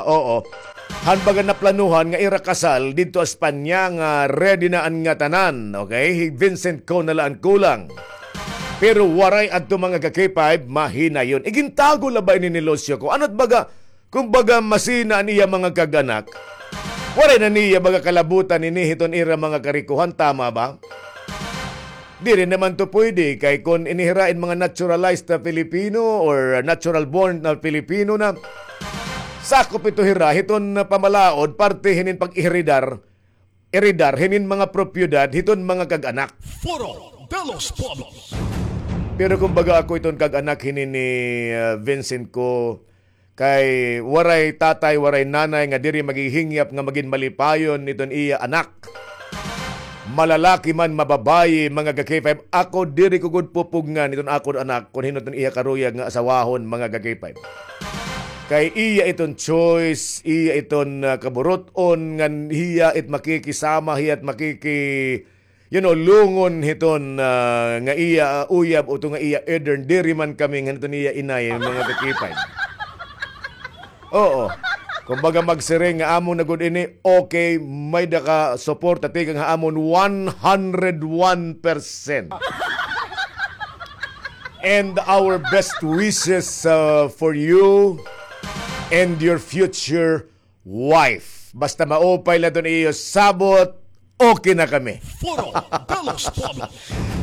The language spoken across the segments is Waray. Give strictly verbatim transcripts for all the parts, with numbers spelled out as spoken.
Oo. Han baga naplanuhan nga ira kasal didto Espanya nga ready na an ngatanan, okay? Hi Vincent Co na la an kulang. Pero waray adto, mga ka-K five, mahinayon. Igintago la ba ini ni Lucio Co? Ano't baga, kumbaga, masina an iya mga kag-anak? Waray na niya baga kalabutan ini hiton ira mga karikohan, tama ba? Diri naman to pwede, kay kon ini hira in mga naturalized na Filipino or natural born na Filipino na, sakop ito hira hiton pamalaod, parte hinin pag-iridar, iridar hinin mga propiedad hiton mga kag-anak. Foro de los Pueblos. Pero kumbaga, ako iton kag-anak hinin ni, ah, Vincent Co, kay waray tatay, waray nanay nga diri maghihingyap nga magin malipayon iton iya anak. Malalaki man, mababayi, mga ka-K five, ako diri ko gud pupugngan iton akon anak kon hin-o iton iya karuyag nga asawahon, mga ka-K five. Kay iya iton choice, iya iton, ah, kaburut-on, ngan hiya it makikisama, hiya it makiki-, you know, lungon hiton, ah, nga iya, ah, uyab, o to nga iya edern, diri man kami ngan hiton iya inay, mga ka-K five. Oo. Kumbaga, magsiring nga amon na gud ini, okay, may-ada ka suporta tikang ha amon one hundred one percent. And our best wishes, uh, for you and your future wife. Basta maupay la iton iyo sabot, okay na kami. Foro de los Pueblos.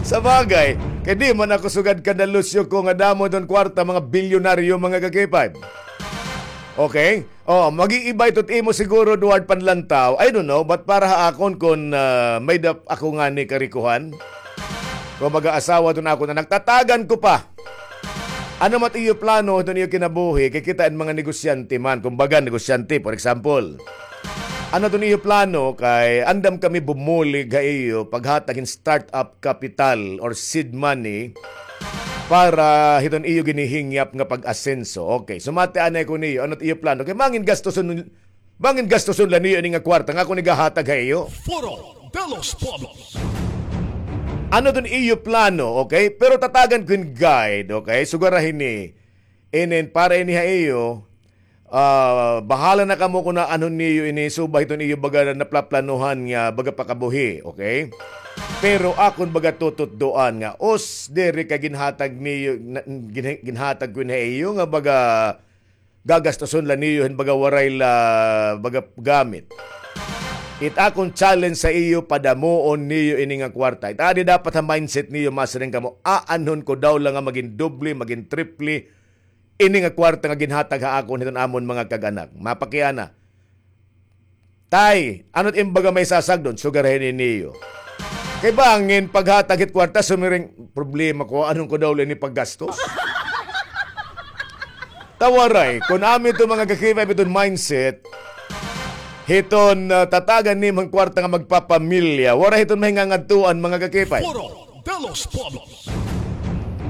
Sa bagay, kay di man ako sugad kan Lucio Co nga damo iton kwarta, mga bilyonaryo, mga ka-K five. Okay? Oh, mag-iiba ito imo siguro, Duard Panlantaw. I don't know, but para ha akon, kun, ah, may-ada ako ngani karikohan, kun mag-aasawa iton akon anak, tatagan ko pa. Ano man it iyo plano hiton iyo kinabuhi, kay kita in mga negosyante man, kumbaga, negosyante, for example. Ano iton iyo plano, kay andam kami bumulig ha iyo, paghatag hin startup capital or seed money para hiton iyo ginihingyap nga pag-asenso. Okay, sumati anay ko niyo, ano it iyo plano? Kay mangin gastuson, mangin gastuson la niyo ini nga kwarta nga ako nigahatag ha iyo. Foro de los Pueblos. Ano iton iyo plano, okay? Pero tatagan ko hin guide, okay? Sugad ra hini. Inin, para ini ha iyo, ah, bahala na kamo kun aanhon niyo ini, suba hiton iyo baga naplaplanuhan nga baga pakabuhi, okay? Pero akon baga tututdoan nga, os, diri kay ginhatag niyo, na, gin-, ginhatag ko ini ha iyo nga baga gagastuson la niyo hin baga waray la baga gamit. It akon challenge sa iyo, padamuon niyo ini nga kwarta. It adi dapat ha mindset niyo, masiring kamo, aanhon ko daw la nga magin doble, magin triple ini nga kwarta nga ginhatag ha akon hiton amon mga kag-anak. Mapakiana. Tay, ano it im baga may sasagdon? Sugad ra hini niyo. Kay bangin paghatag hit kwarta, sumiring, problema ko, aanhon ko daw la ini paggastos? Ta waray, kun amo ito mga ka-K five iton mindset, hiton, ah, tatagan nimo hin kwarta nga magpapamilya, waray hiton mahingangadtuan mga ka-K five. Foro de los Pueblos.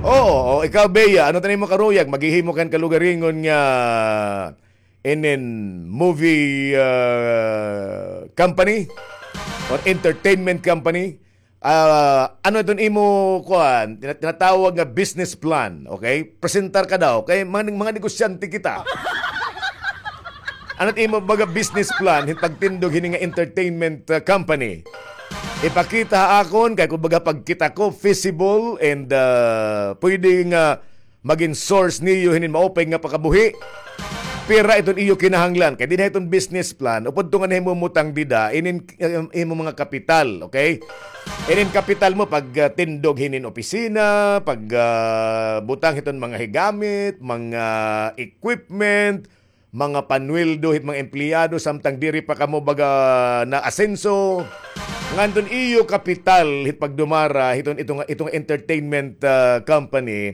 Oo, o ikaw, Bea, ano it imo karuyag? Maghihimo ka hin kalugaringon nga inin movie, ah, company or entertainment company? Ah, ano iton imo, kuan, tina-, tinatawag nga business plan, okay? Presentar ka daw, kay mga, mga negosyante kita. Ano it imo baga business plan hin pagtindog hini nga entertainment, ah, company? Ipakita ha akon, kay kun baga pagkita ko, feasible and, ah, pwede nga magin source niyo hinin maupay nga pakabuhi. Pira iton iyo kinahanglan? Kay dinhi iton business plan, upod to nga nahimumutang dida, inin, um, imo mga kapital, okay? Inin kapital mo pag, ah, tindog hinin opisina, pag, ah, butang hiton mga higamit, mga equipment, mga panweldo hit mga empleyado samtang diri pa kamo baga naasenso. Ngan iton iyo kapital hit pagdumara hiton ito nga, ito nga entertainment, ah, company,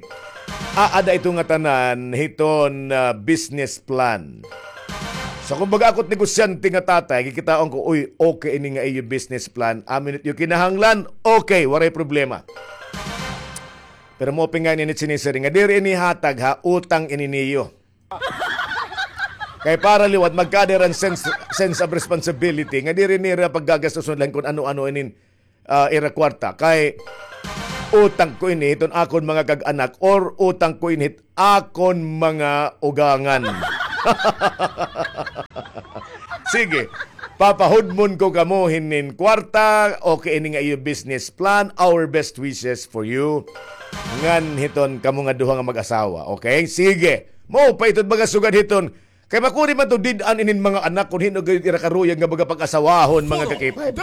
aada ito nga tanan hiton, ah, business plan. So, kumbaga, ako it negosyante nga tatay, kikitaon ko, uy, okay ini nga iyo business plan, amo ini it iyo kinahanglan, okay, waray problema. Pero maupay ngani ini it sinisiring nga diri ini hatag ha, utang ini niyo. Kay para liwat magkada hira hin sense, sense of responsibility nga diri nira paggagastuson la hin kun ano-ano inin, ah, ira kwarta. Kay utang ko ini hiton akon mga kag-anak or utang ko ini hit akon mga ugangan. Sige. Papahudmon ko kamo hinin kwarta, okay, ini nga iyo business plan, our best wishes for you. Ngan hiton kamo nga duha nga mag-asawa, okay? Sige. Mao pa iton baga sugad hiton. Kay makuri man to did-an inin mga anak kun hin-o gayud ira karuyag nga baga pag-asawahon, mga ka-K five.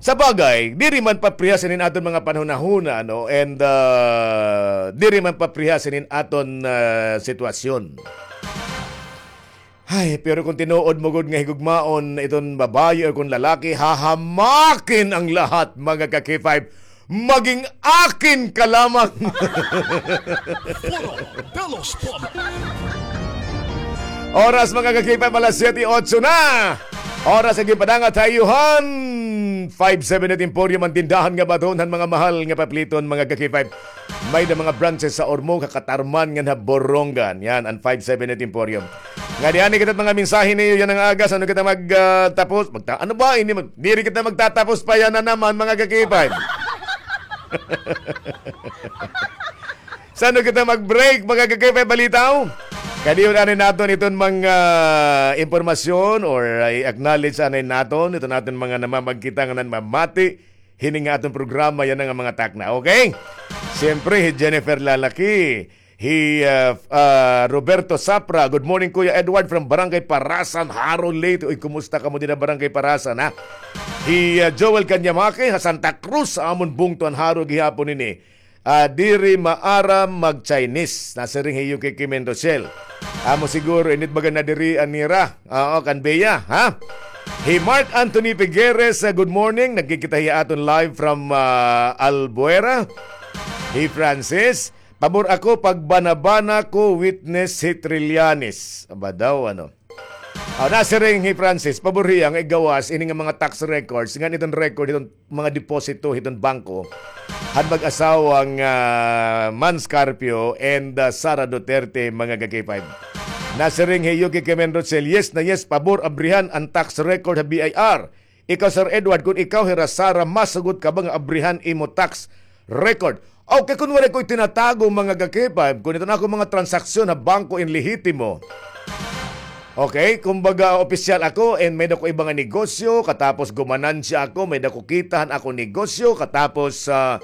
Sa bagay, diri man paprihas inin aton mga panhunahuna, no? And, ah, diri man paprihas inin aton, ah, sitwasyon. Ay, pero kung tinuod mo gud nga higugmaon iton babayi o kung lalaki, hahamakin ang lahat, mga ka-K five. Maging akin ka lamang. Foro de los Pobres. Oras, mga ka-K five, alas siyete otso na. Oras nga ginpadangat ha iyo han five seven eight Emporium, an tindahan nga baton han mga mahal nga papliton, mga ka-K five. May-ada mga branches sa Ormoc, ha Catarman, ngan ha Borongan. Yan, an five seven eight Emporium. Nga di ani kita mga mensahe niyo yana nga aga, san-o kita mag, ah, tapos? Magta-, ano ba? Ini mag-, diri kita magtatapos pa yana naman, mga ka-K five. San-o kita mag-break, mga ka-K five Balitaw? Kadiyon anay naton iton mga impormasyon or, ah, i-acknowledge anay naton iton aton mga namamagkita nga namamati hini nga aton programa yana nga mga takna. Okay? Siyempre, hi Jennifer Lalaki, hi, ah, ah, Roberto Sapra. "Good morning, Kuya Edward from Barangay Parasan, Jaro, Leyte." Uy, kumusta kamo dida Barangay Parasan, ha? Hi, ah, Joel Kanyamake, ha Santa Cruz, sa amon bungto an Jaro gihapon ini. Ah, diri maaram mag-Chinese. Nasiring hi Yuki Kimen Rochelle. Amo siguro, init baga nadirian nira. Oo, kan Bea, ha? Hi Mark Anthony Figueres, ah, good morning. Nagkikita hiya aton live from, ah, Albuera. Hi Francis, pabor ako pagbanabana ko witness hi Trillanes. Aba daw, ano? Ah, nasiring hi Francis, pabor hiya nga igawas ini nga mga tax records, ngan iton record, iton mga deposito hiton bangko han mag-asawa nga Mans Carpio and, ah, Sara Duterte, mga ka-K five. Nasiring hi Yuki Kemen Rochelle, "Yes na yes, pabor abrihan an tax record ha B I R. Ikaw, Sir Edward, kun ikaw hira Sara, masugot ka ba nga abrihan imo tax record?" Okay, kun waray ko itinatago, mga ka-K five, kun iton ako mga transaksyon ha bangko in lehitimo, okay, kumbaga, opisyal ako, and may-ada ko iba nga negosyo, katapos gumanansya ako, may-ada ko kita han akon negosyo, katapos, ah,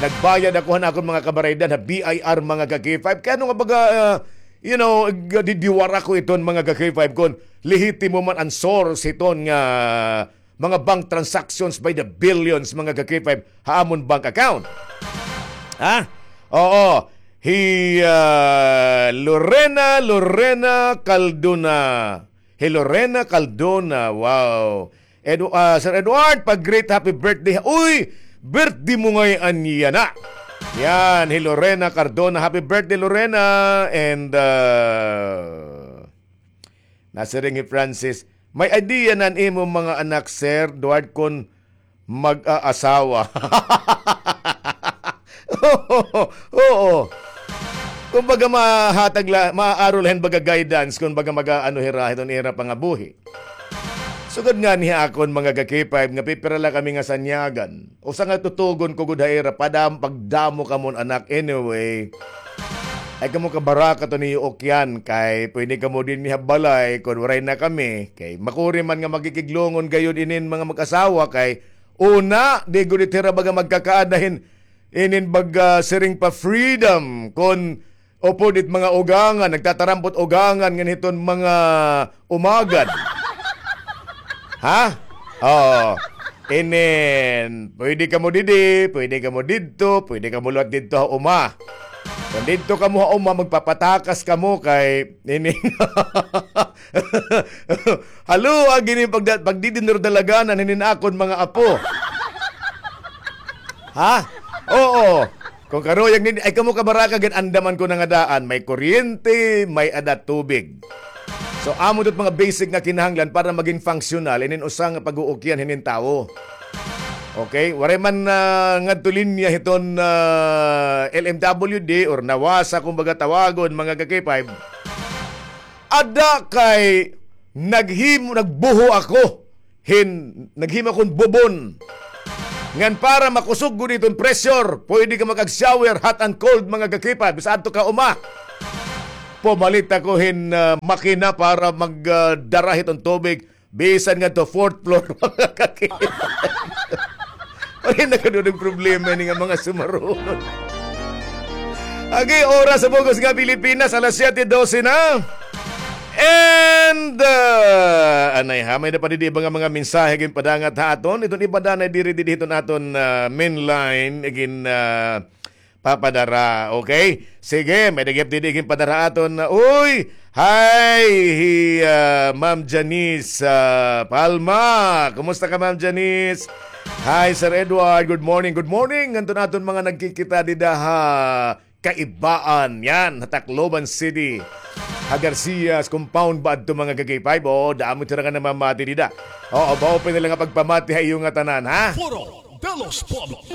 nagbayad ako han akon mga kabaraydan ha B I R, mga ka-K five. Kay ano nga baga, ah, you know, g-, didiwara ko iton, mga ka-K five, kun lehitimo man an source hiton nga mga bank transactions by the billions, mga ka-K five, ha amon bank account. Ha? Oo. Hi, ah, Lorena, Lorena Caldona. Hi Lorena Caldona. Wow. Edu-, ah, Sir Edward, pag-greet happy birthday. Uy, birthday mo ngay-an yana. Yan, hi Lorena Cardona. Happy birthday, Lorena. And, ah, nasiring hi Francis, "May idea na an imo mga anak, Sir Edward, kun mag-aasawa?" Oo. Kumbaga, mahatag la, maaaro la hin baga guidance, kumbaga, mag-aano hira, hiton ira pangabuhi. Sugad ngani ha akon mga ka-K five nga pipira la kami nga sanyagan. Usa nga tutugon ko gud ha ira, padam-, pagdamo kamo han anak. Anyway, ay kamo kabaraka to niyo ukyan, kay pwede kamo dinhi ha balay kon waray na kami. Kay makuri man nga makikiglongon gayod inin mga mag-asawa, kay una, di gud it hira baga magkakaada hin inin baga siring pa freedom kon upod it mga ugangan, nagtatarampot ugangan ngan hiton mga umagad. Ha? Oo. Inin, pwede kamo didi, pwede kamo didto, pwede kamo liwat didto ha uma. Kon didto kamo ha uma, magpapatakas kamo kay inin. Halo, agi ni pagda-, pagdidinurdalaganan hinin akon mga apo. Ha? Oo. Kon karuyag ni, ay kamo kabaraka, gin-andaman ko na nga daan, may kuryente, may-ada tubig. So, amo ito mga basic nga kinahanglan para maging functional inin usa nga pag-uukyan hinin tawo. Okay? Waray man, ah, ngadto linya hiton, ah, L M W D or nawasa, kumbaga tawagon, mga ka-K five. Ada kay naghimo, nagbuho ako hin, naghimo akon bubon. Ngan para makusog gud iton pressure, pwede ka mag-ag-shower, hot and cold, mga ka-K five, bisan adto ka uma. Pumalit ako hin, ah, makina para mag, ah, dara hiton tubig. Bisan ngadto fourth floor, mga kaki. Ay, nagkadudog problema ini nga mga sumarunon. Agi, oras sa bug-os nga Pilipinas, alas siyete dose na. And, ah, anay ha, may-ada pa didi iba nga mga mensahe ginpadangat ha aton. Iton iba danay diri, didi hiton aton, ah, main line, igin, ah, papadara. Okay? Sige, may-ada gihap didi ginpadara aton. Uy! Hi, hi, ah, Ma'am Janice, ah, Palma. Kumusta ka, Ma'am Janice? Hi, Sir Edward. Good morning. Good morning ngadton aton mga nagkikita dida ha Kaibaan. Yan, ha Tacloban City. Ha Garcias Compound ba adto, mga ka-K five? O, damo hira nga namamati dida. Oo, maupay na la nga pagpamati ha iyo ngatanan, ha? Foro de los Pueblos.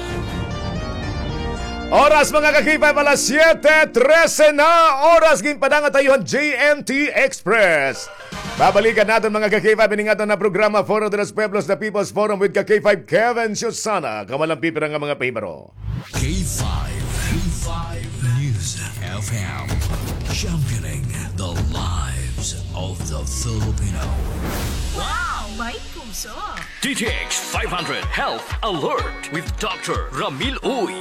Oras, mga ka-K five, alas siyete trese na. Oras ginpadangat ha iyo han J M T Express. Babalikan naton, mga ka-K five, ini nga aton nga programa, Foro de los Pueblos, The People's Forum with ka-K five Kevin Susana. Kamo la an pipira nga mga pahibaro. K five, K five News F M, championing the lives of the Filipino. Wow! May puso! D T X five hundred Health Alert with Doctor Ramil Uy.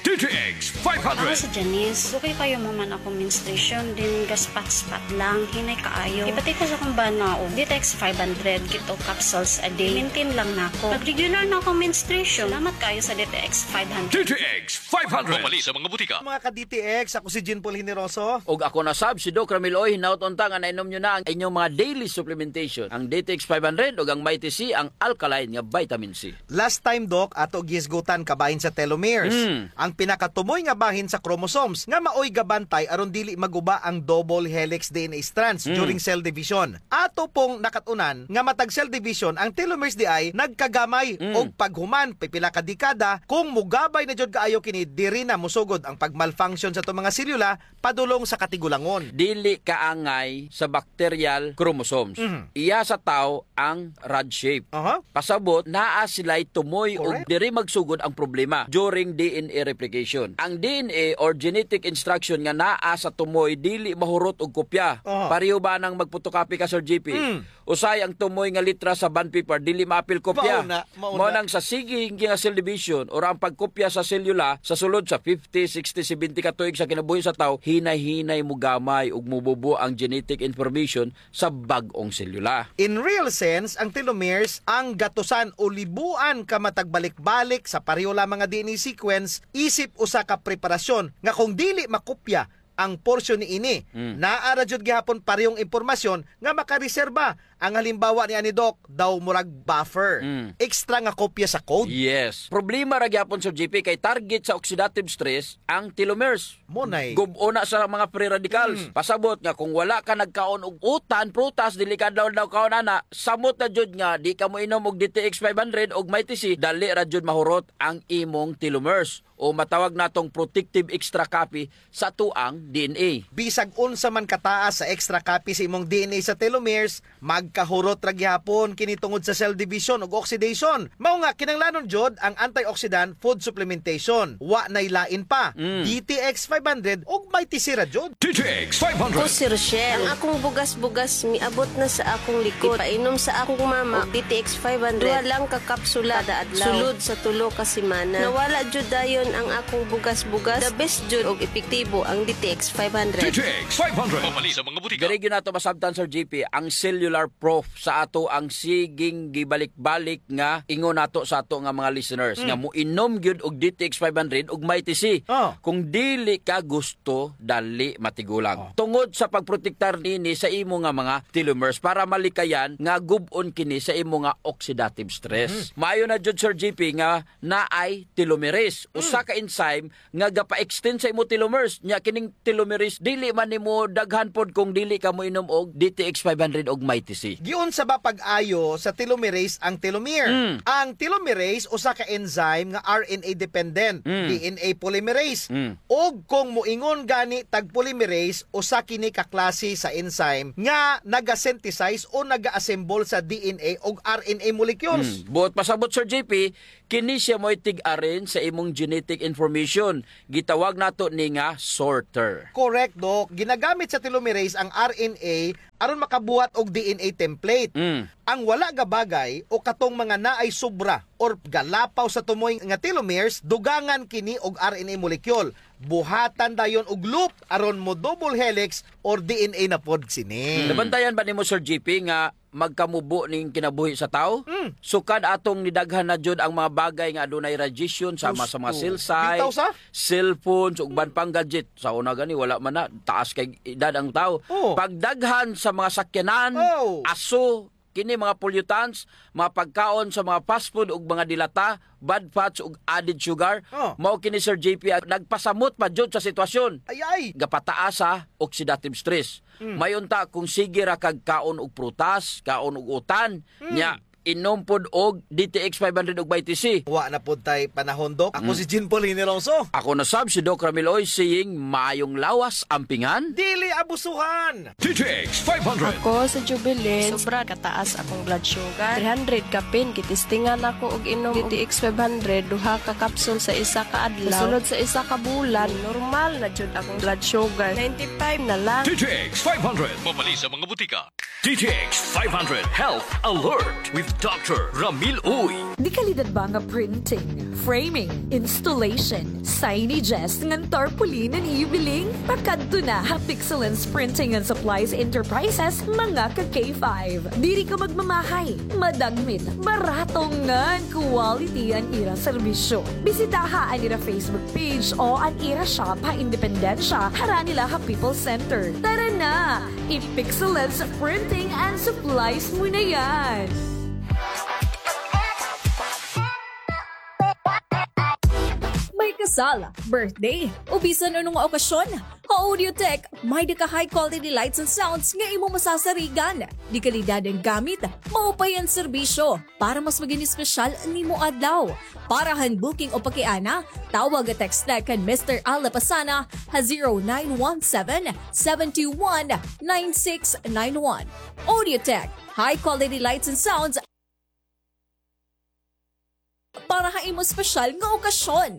D T X five hundred. Ako si Janice. Dugay kaayo mahuman akong menstruation, then gaspat-spat lang, hinay kaayo. Ipati ko sa akong bana og D T X five hundred, keto capsules a day. Maintain lang nako. Nag-regular na akong menstruation. Salamat kaayo sa D T X five hundred. D T X five hundred. Mamalit sa mga butika. Mga ka-D T X, ako si Jean Paul Generoso. Ug ako na sab, si Doc Ramil Uy. Hinaot unta nga nainom niyo na ang inyong mga daily supplementation, ang D T X five hundred ug ang Mighty C, ang alkaline nga vitamin C. Last time, Doc, ato gihisgutan kabahin sa telomeres. Mm. Ang pinakatumoy nga bahin sa chromosomes nga maoy gabantay aron dili maguba ang double helix D N A strands, mm, during cell division. Ato pong nakat-unan nga matag cell division, ang telomeres diay nagkagamay, mm, og paghuman pipila ka dekada, kung mogabay na jud kaayo kini, diri na mosugod ang pag-malfunction sa ato mga selula padulong sa katigulangon. Dili kaangay sa bacterial chromosomes. Mhm. Iya sa tawo ang rod shape. Aha. Pasabot, naa sila'y tumoy ug, correct, diri magsugod ang problema during D N A replication. Ang D N A or genetic instruction nga naa sa tumoy dili mahurot og kopya. Aha. Pareho ba nang magpotocopy ka, Sir J P? Mm. Usahay ang tumoy nga litra sa bond paper, dili maapil kopya. Mao na, mao na. Mao nang sa sige nga cell division or ang pagkopya sa selula sa sulod sa fifty, sixty, seventy ka tuig sa kinabuhi sa tawo, hinay-hinay mogamay ug mobubo ang genetic information sa bag-ong selula. In real sense, ang telomeres, ang gatusan o libuan ka matag balik-balik sa pareho lamang nga D N A sequence, isip usa ka preparasyon nga kung dili makopya ang porsyon niini, mm, naa ra jud gihapon parehong impormasyon nga makareserba. Ang halimbawa niani, Doc, daw murag buffer. Mm. Extra nga kopya sa code. Yes. Problema ra gihapon, Sir J P, kay target sa oxidative stress ang telomeres. Mao nay. Gub-on na sa mga free radicals. Mm. Pasabot nga kung wala ka nagkaon og utan, prutas, dili ka daw daw kaon ana, samot na jud nga di ka moinom og D T X five hundred og Mighty C, dali ra jud mahurot ang imong telomeres, o matawag natong protective extra copy sa atoang D N A. Bisag unsa man kataas sa extra copy sa imong D N A sa telomeres, magkahurot ra gihapon kini tungod sa cell division ug oxidation. Mao nga, kinahanglanon jud ang antioxidant food supplementation. Wa nay lain pa. Mm. D T X five hundred ug Mighty C ra jud. D T X five hundred. Ako si Rochelle. Ang akong bugas-bugas miabot na sa akong likod. Ipainom sa akong mama og D T X five hundred. Duha lang ka kapsula kada adlaw. Sulod sa tulo ka semana. Nawala jud dayon ang akong bugas-bugas. The best jud og epektibo ang D T X five hundred. D T X five hundred. Mamalit sa mga butika. Diri gyud nato masabtan, Sir J P, ang cellular proof sa atoang siging gibalik-balik nga ingon nato sa ato nga mga listeners, mm, nga moinom gyud og D T X five hundred ug Mighty C. Oh. Kung dili ka gusto, dali matigulang. Oh. Tungod sa pagprotektar nini sa imo nga mga telomeres para malikayan nga gub-on kini sa imo nga oxidative stress. Mm. Maayo na jud, Sir J P, nga naay telomerase, mm, usa ka enzyme nga gapa-extend sa imo telomeres. Nya kining telomerase, dili man nimo daghan pod kung dili ka moinom og D T X five hundred og Mighty C. Giunsa ba pag-ayo sa telomerase ang telomere? Mm. Ang telomerase, usa ka enzyme nga R N A dependent, mm, D N A polymerase. Mm. Ug kung moingon gani tag polymerase, usa kini ka klase sa enzyme nga naga-synthesize o naga-assemble sa D N A ug R N A molecules. Mm. Buot pasabot, Sir J P, kini siya mo'y tig-arin sa imong genetic synaptic information. Gitawag nato ni nga sorter. Correct, Doc. Ginagamit sa telomerase ang R N A aron makabuhat og D N A template. Mm. Ang wala nga bagay o katong mga naay sobra or galapaw sa tumoy nga telomeres, dugangan kini og R N A molecule. Buhatan dayon og loop aron mo double helix or D N A na pod sini. Mm. Nabantayan ba nimo, Sir G P, nga magkamubo ning kinabuhi sa tawo? Mm. Sukad atong nidaghan na jud ang mga bagay nga adunay radiation, sama sa mga cell site, cellphones, ug uban pang gadget. Sa una gani, wala man na, taas kay edad ang tawo. Oh. Pagdaghan sa mga sakyanan, aso, kini mga pollutants, mga pagkaon sa mga fast food ug mga dilata, bad fats ug added sugar. Oh. Mao kini, Sir J P, ang nagpasamot pa jud sa sitwasyon. Ay, ay. Gapataas sa oxidative stress. Mm. May unta kung sige ra kag kaon og prutas, kaon og utan, mm, nya inom pod og D T X five hundred ug Mighty C. Wa na pod tay panahon, Doc. Ako, mm, si Jean Paul Hiniroso. Ako na sab si Doc Ramil Uy, saying, maayong lawas, ampingan. Dili abusuhan. D T X five hundred. Ako si Jubilin. Sobra kataas akong blood sugar. Three hundred kapin, gitistingan ako og inom D T X five hundred, duha ka capsule sa isa ka adlaw. Sulod sa isa ka bulan, normal na jud akong blood sugar. Ninety-five na lang. D T X five hundred. Mabali sa mga butika. D T X five hundred Health Alert with Doctor Ramil Uy. Dekalidad ba nga printing, framing, installation, signages, ngan tarpaulin an iyo biling? Pakadto na ha Pixelens Printing and Supplies Enterprises, mga ka K five. Diri ka magmamahay, madagmit, barato ngan quality an ira serbisyo. Bisitaha an ira Facebook page o an ira shop ha Independencia, harani la ha People's Center. Tara na! I-Pixelens Printing and Supplies mo na yan! May kasal, birthday, o bisan ano nga okasyon, ha Audiotech, may-ada ka high quality lights and sounds nga imo masasarigan. Dekalidad an gamit, maupay an serbisyo. Para mas maging espesyal nimo adlaw. Para han booking o pakiana, tawag o text la kan Mister Al Lapasana ha zero nine one seven, seven two one, nine six nine one. Audiotech, high quality lights and sounds para ha imo espesyal nga okasyon.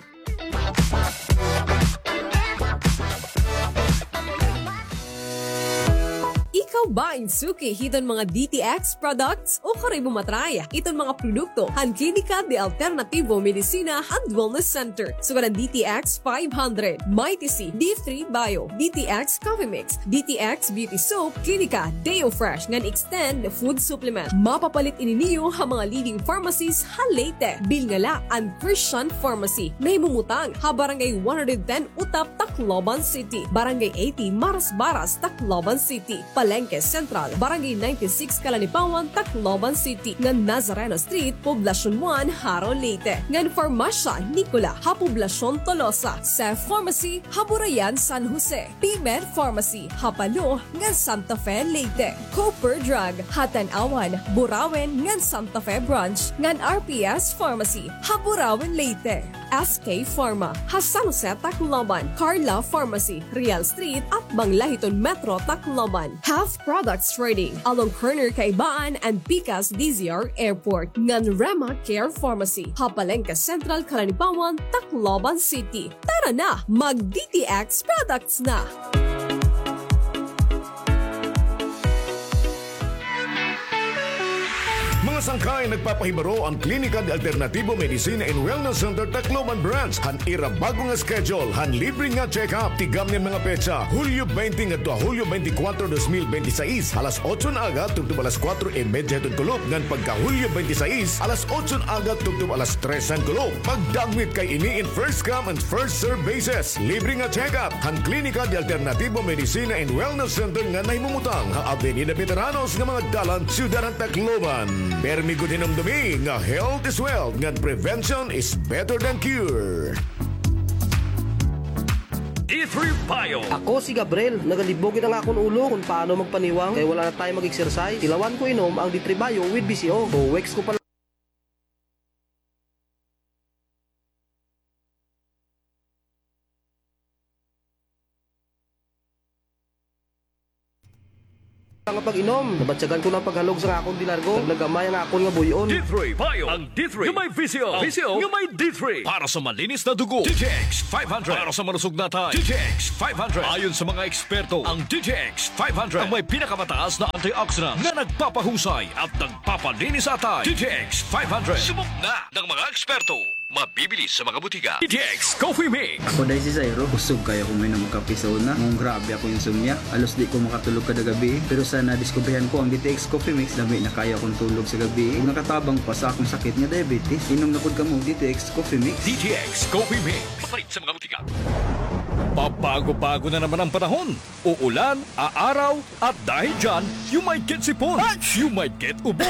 Ikaw ba in suki hiton mga D T X products? O kari mo matry iton mga produkto han Klinika de Alternativo Medicina and Wellness Center, sugad han D T X five hundred, Mighty C, D three Bio, D T X Coffee Mix, D T X Beauty Soap, Klinika Deo Fresh ngan Extend Food Supplement. Mapapalit ini niyo ha mga leading pharmacies ha Leyte. Bilnga la an Christian Pharmacy. Nahimumutang ha Barangay one hundred ten Utap, Tacloban City, Barangay eighty Marasbaras, Tacloban City, Palengke Central, Barangay ninety-six Calanipawan, Tacloban City, ngan Nazareno Street, Poblacion one, Jaro, Leyte, ngan Farmasya Nicola ha Poblacion Tolosa, Seth Pharmacy ha Burayan, San Jose, P-Med Pharmacy ha Palo ngan Santa Fe, Leyte, Cooper Drug ha Tanauan, Burauen ngan Santa Fe Branch, ngan R P S Pharmacy ha Burauen, Leyte. S K Pharma ha San Jose, Tacloban, Carla Pharmacy, Real Street, atbang la hiton Metro Tacloban, Health Products Trading along corner Kaibaan and Picas D Z R Airport, ngan Rema Care Pharmacy ha Palengke Central, Calanipawan, Tacloban City. Tara na, mag D T X products na! Mga sangkay, nagpapahibaro an Klinika de Alternativo Medicina and Wellness Center Tacloban Branch han ira bag-o nga schedule han libre nga check-up. Tigamni an mga petsa, Hulyo twenty ngadto ha Hulyo twenty-four, dos mil bente y seis, alas otso nga aga tubtob alas kuwatro y medya hiton kulop, ngan pagka Hulyo twenty-seis, alas otso nga aga tubtob alas tres han kulop. Pagdagmit kay ini in first come and first serve basis. Libre nga check-up han Klinika de Alternativo Medicina and Wellness Center nga nahimumutang ha Avenida Veteranos nga mga dalan, Syudad han Tacloban. Permi gud hinumdomi nga health is wealth ngan prevention is better than cure. D three Bio. Ako si Gabriel. Nagalibog gid ang akon ulo kung paano magpaniwang kay wala na tayo mag-exercise. Tilawan ko inom ang D three Bio with B C O. Two weeks ko pa nga pag-inom. Nabatyagan ko na an paghalog sa akon dinargo. Nagnagamay an akon nga buy-on. D three Bio. Ang D three nga may visyo. Ang visyo nga may D three. Para sa malinis na dugo, D T X five hundred. Para sa malusog na atay, D T X five hundred. Ayon sa mga eksperto, ang D T X five hundred ang may pinakamataas na antioxidant na nagpapahusay at nagpapalinis sa atay. D T X five hundred. Subok na ng mga eksperto. Mabibili sa mga butika. D T X Coffee Mix. Ako, Day, si Zairo. Kusog kaayo ako mainom kape sa una. Ngunong grabe ako insomnia. Halos di ko makatulog kada gabi. Pero sa nadiskubrihan ko ang D T X Coffee Mix, lami na kaayo akon tulog sa gabi. Ug nakatabang pa sa akon sakit nga diabetes. Inom na pod kamo og D T X Coffee Mix. D T X Coffee Mix. Mapalit sa mga butika. Pabago-bago na naman ang panahon. Uulan, aaraw, at dahil dyan, you might get sipon, you might get ubo,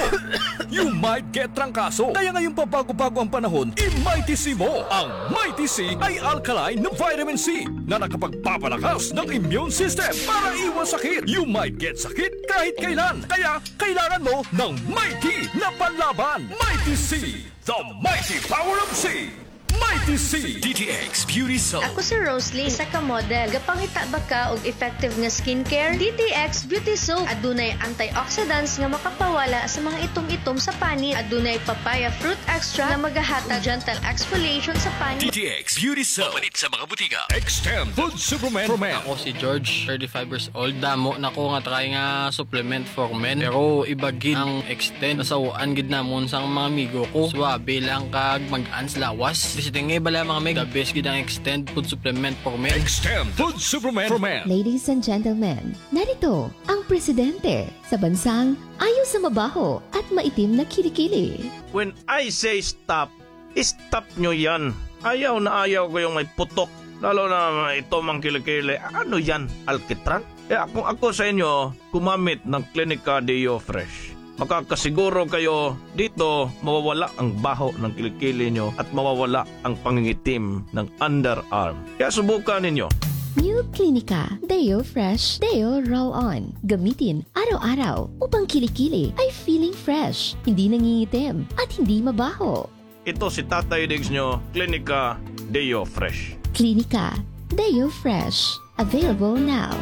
you might get trangkaso. Kaya ngayong pabago-bago ang panahon, i-Mighty C mo. Ang Mighty C ay alkaline na vitamin C na nakapagpapalakas ng immune system para iwas sakit. You might get sakit kahit kailan. Kaya kailangan mo ng Mighty na panlaban. Mighty C, the mighty power of C. Mighty C. D T X Beauty Soap. Ako si Rosely, isa ka model. Gapangita ba ka og effective nga skincare? D T X Beauty Soap. Adunay antioxidants nga makapawala sa mga itom-itom sa panit. Adunay papaya fruit extract nga magahatag gentle exfoliation sa panit. D T X Beauty Soap. Mapalit sa mga butika. Extend Food Supplement for Men. Ako si George, thirty-five years old. Damo na ko nga try nga supplement for men. Pero iba gid ang Extend. Nasaw-an gid namon sang mga amigo ko. Suabe lang kag mag-an sa lawas. Di siya tingay bala, mga meg. The best gid ang Extend food supplement for men. Extend food supplement for men. Ladies and gentlemen, narito ang presidente sa bansang ayaw sa mabaho at maitim na kilikili. When I say stop, stop nyo yan. Ayaw na ayaw ko yung may putok. Lalo na may itom ang kilikili. Ano yan? Alkitran? Eh, kung ako sa inyo, gumamit ng Clinica Deo Fresh. Makakasiguro kayo dito, mawawala ang baho ng kilikili nyo at mawawala ang pangingitim ng underarm. Kaya subukan ninyo. New Clinica Deo Fresh Deo Roll-On. Gamitin araw-araw upang kilikili ay feeling fresh, hindi nangingitim, at hindi mabaho. Ito si Tatay Diggs nyo, Clinica Deo Fresh. Clinica Deo Fresh. Available now.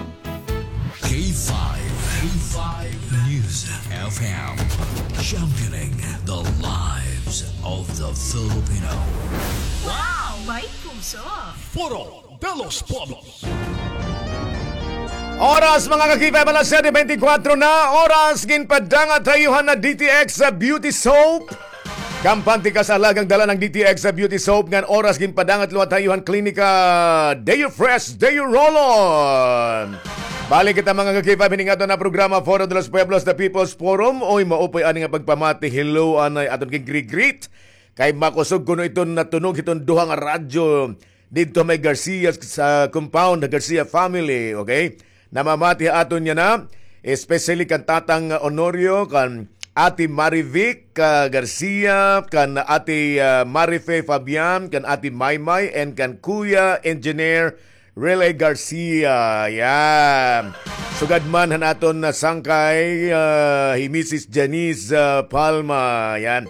K five, K five News F M, championing the lives of the Filipino. Wow! May puso! Foro de los Pueblos. Oras, mga ka-K five, alas siyete beintikwatro na. Oras, ginpadangat ha iyo han D T X Beauty Soap. Kampante ka sa alagang dala ng D T X Beauty Soap. Ngan oras, ginpadangat liwat ha iyo han Klinika Deo Fresh, Deo Roll-On. Balik kita, mga ka-K five, hini nga aton nga programa, Foro de los Pueblos, The People's Forum. Oy, maupay ani nga pagpamati. Hello, anay, aton gin-greet-greet. Kay makusog kuno iton natunog hiton duha nga radyo didto may Garcia sa compound, Garcia family, okay? Namamati ha aton yana, especially kan Tatang Honorio, kan Ate Marivic, ah, Garcia, kan Ate, ah, Marife Fabian, kan Ate Maymay, and kan Kuya Engineer Rele Garcia. Yan. Sugad man han aton na sangkay, ah, hi Missus Janice, ah, Palma. Yan.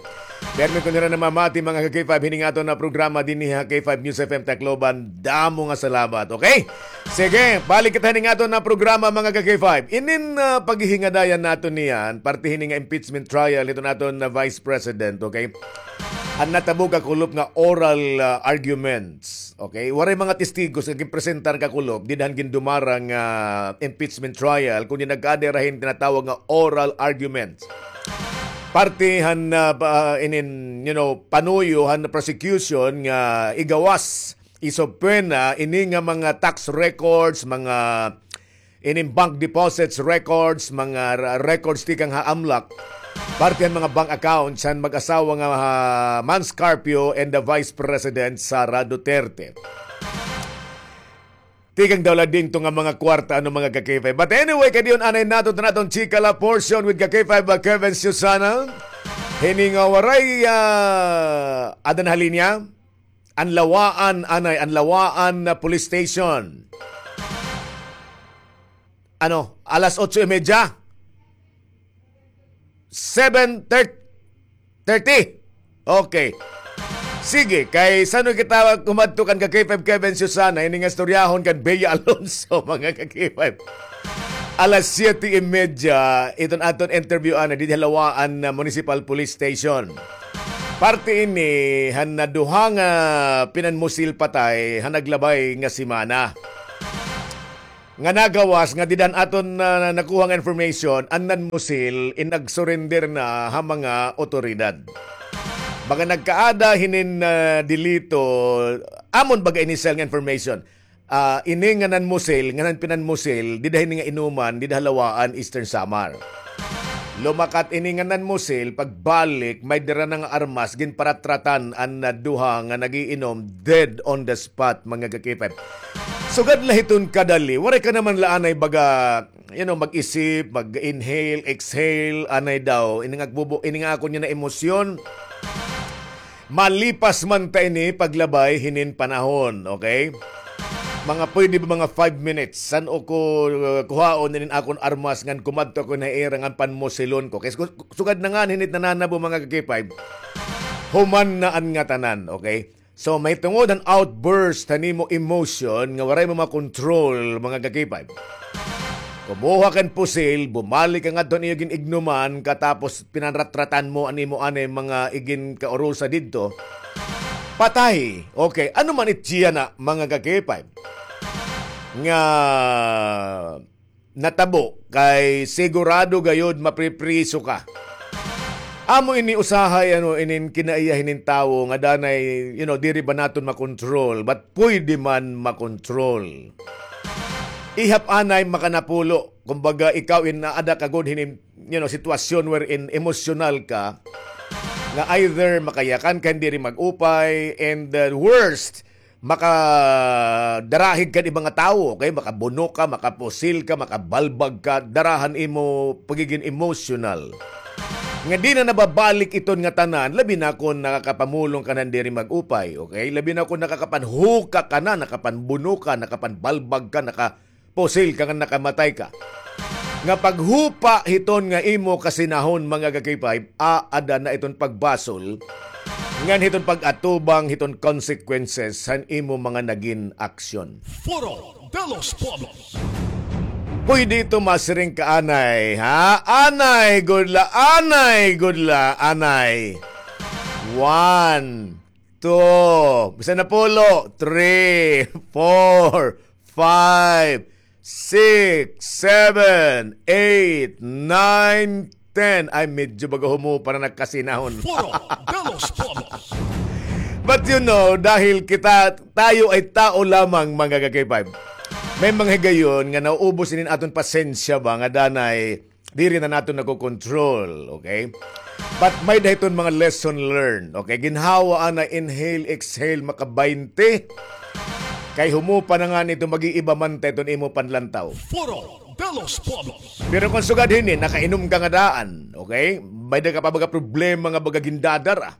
Permi ko nira namamati, mga ka-K five, hini nga aton na programa dinhi ha K five News F M Tacloban. Damo nga salamat, okay? Sige, balik kita hini nga aton na programa, mga ka-K five. Inin, ah, paghihingadayan naton niyan, parte hini nga impeachment trial, ito naton na Vice President, okay? An natabo kakulop nga oral, ah, arguments, okay? Waray mga testigos nga ginpresentar kakulop, dida han gindumarang, ah, impeachment trial, kundi nagkaada hira hin tinatawag nga oral arguments. Parte han, ah, pa-, inin, you know, panuyo han prosecution nga igawas, isubpoena ini nga mga tax records, mga inin bank deposits records, mga ra-, records tikang ha AMLAC, parte han mga bank accounts han mag-asawa nga, ah, Mans Carpio and the Vice President Sara Duterte. Tikang daw la dinto nga mga kwarta, ano, mga ka-K five. But anyway, kay diyon anay naton, naton chika la portion with ka-K five, uh, Kevin Susana. Hini nga waray, ah, ada na ha linya. An Lawaan, anay, an Lawaan na police station. Ano, alas otso y media? Seven thirty. Okay. Sige, kay san-o kita kumadto kan ka-K five Kevin Susana, ini nga istoryahon kan Bea Alonso, mga ka-K five. Alas siyete y media, iton aton interview ana didi ha Lawaan na Municipal Police Station. Parte ini han naduha nga pinanmusil patay han naglabay nga semana. Nga nagawas nga didi han aton, ah, nakuha nga information, an nanmusil in nagsurrender na ha mga otoridad. Baga nagkaada hinin, ah, delito, amon baga initial nga information. Ah, ini nga nanmusil, nga nan-, pinanmusil, dida hini nga inuman, dida ha Lawaan, Eastern Samar. Lumakat ini nga nanmusil, pagbalik, may dara na nga armas, ginparatratan an, ah, duha nga nag-iinom, dead on the spot, mga ka-K five. Sugad la hiton kadali, waray ka naman la anay baga, you know, mag-isip, mag-inhale, exhale, anay daw, ini nga agbubo, ini nga akon nga na emosyon. Malipas man ta ini paglabay hinin panahon, okay? Mga pwede ba mga five minutes? San-o ko, uh, kuhaon inin akon armas ngan kumadto ko na ira ngan panmusilon ko? Kay su-, sugad na nga hinit nananabo, mga ka-K five. Human na an ngatanan, okay? So, mahitungod han outburst han imo emotion nga waray mo makontrol, mga ka-K five. Kumuha kan pusil, bumalik ka ngadto han iyo gin-ignuman, katapos pinanratratan mo an imo anay mga iginkaurusa didto. Patay. Okay, ano man it siya na, mga ka-K five, nga natabo, kay sigurado gayod mapripriso ka. Amo ini usahay, ano, inin kinaiya hinin tawo nga danay, you know, diri ba naton makontrol, but pwede man makontrol. Ihap anay makanapulo. Kumbaga, ikaw in naada ka gud hinin, you know, sitwasyon wherein emosyonal ka, nga either makayakan ka, diri mag-upay, and the worst, makadarahig ka hin iba nga tawo, okay? Makabuno ka, makapusil ka, makabalbag ka, dara han imo pagiging emotional. Nga di na nababalik iton nga tanan, labi na kon nakakapamulong ka nan diri mag-upay, okay? Labi na kon nakakapanhuka ka na, nakapanbuno ka, nakapanbalbag ka, nakapusil ka nga nakamatay ka. Nga paghupa hiton nga imo kasinahon, mga ka-K five, aada na iton pagbasol, ngan hiton pag-atubang hiton consequences han imo mga nagin aksyon. Foro de los Pueblos. Pwede ito masiring ka anay, ha? Anay, gud la, anay, gud la, anay. One, two, bisan napulo, three, four, five, six, seven, eight, nine, ten. Ay, medyo baga humupa na nagkasinahon. Foro de los Pueblos. But you know, dahil kita, tayo ay tao lamang, mga ka-K five. May mga higayon nga nauubos inin aton pasensya ba, nga danay diri na naton nakokontrol, okay? But may-ada hiton mga lesson learned, okay? Ginhawa anay inhale, exhale, maka-baynte. Kay humupa na ngani ito, mag-iiba man ta iton imo panlantaw. Foro de los Pueblos. Pero kon sugad hini, nakainom ka nga daan, okay? May-ada ka pa baga problema nga baga gindadara.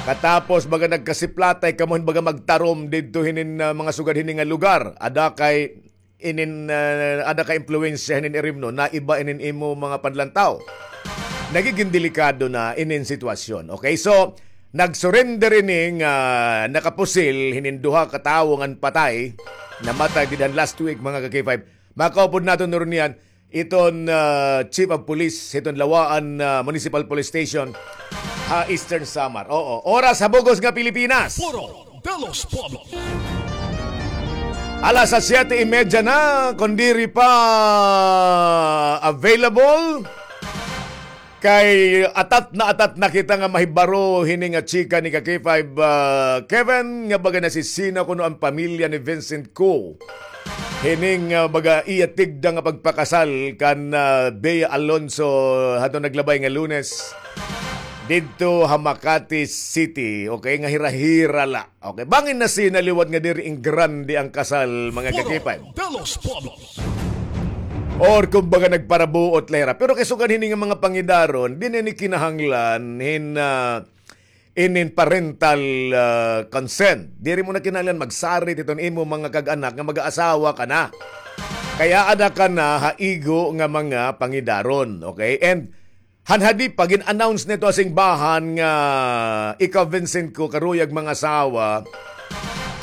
Katapos baga nagkasiplatay kamo hin baga magtarom didto hinin, ah, mga sugad hini nga lugar. Ada kay inin, ah, ada ka impluwensya hinin irimnon, naiba inin imo mga panlantaw. Nagigin delikado na inin sitwasyon. Okay, so, nag-surrender ini nga nakapusil hinin duha ka tawo ngan patay, namatay didhan last week, mga ka-K five. Makaupod naton nuron niyan, iton, ah, Chief of Police, hiton Lawaan, ah, Municipal Police Station, ha Eastern Samar. Oo, oras ha bug-os nga Pilipinas. Foro de los Pueblos. Alas siyete y media na, kon diri pa available, kay atat na atat na kita nga mahibaro hini nga chika ni ka-K five, ah, Kevin, nga baga nasisina kuno an pamilya ni Vincent Co. Hining, ah, baga iya tigda nga pagpakasal kan, ah, Bea Alonso hadto naglabay nga Lunes didto ha Makati City. Okay, nga hira-hira la. Okay, bangin nasina liwat nga diri in grande an kasal, mga ka-K five. Foro de los Pueblos. Or kumbaga nagparabuot la hira. Pero kay sugad hini nga mga pangidaron, diri na ini kinahanglan hin, ah, inin parental, ah, consent. Diri mo na kinahanglan magsarit hiton imo mga kag-anak nga mag-aasawa ka na. Kay aada ka na ha igo nga mga pangidaron, okay? And han hadi pa, gin-announce na ito ha singbahan nga ikaw, Vincent Co, karuyag mangasawa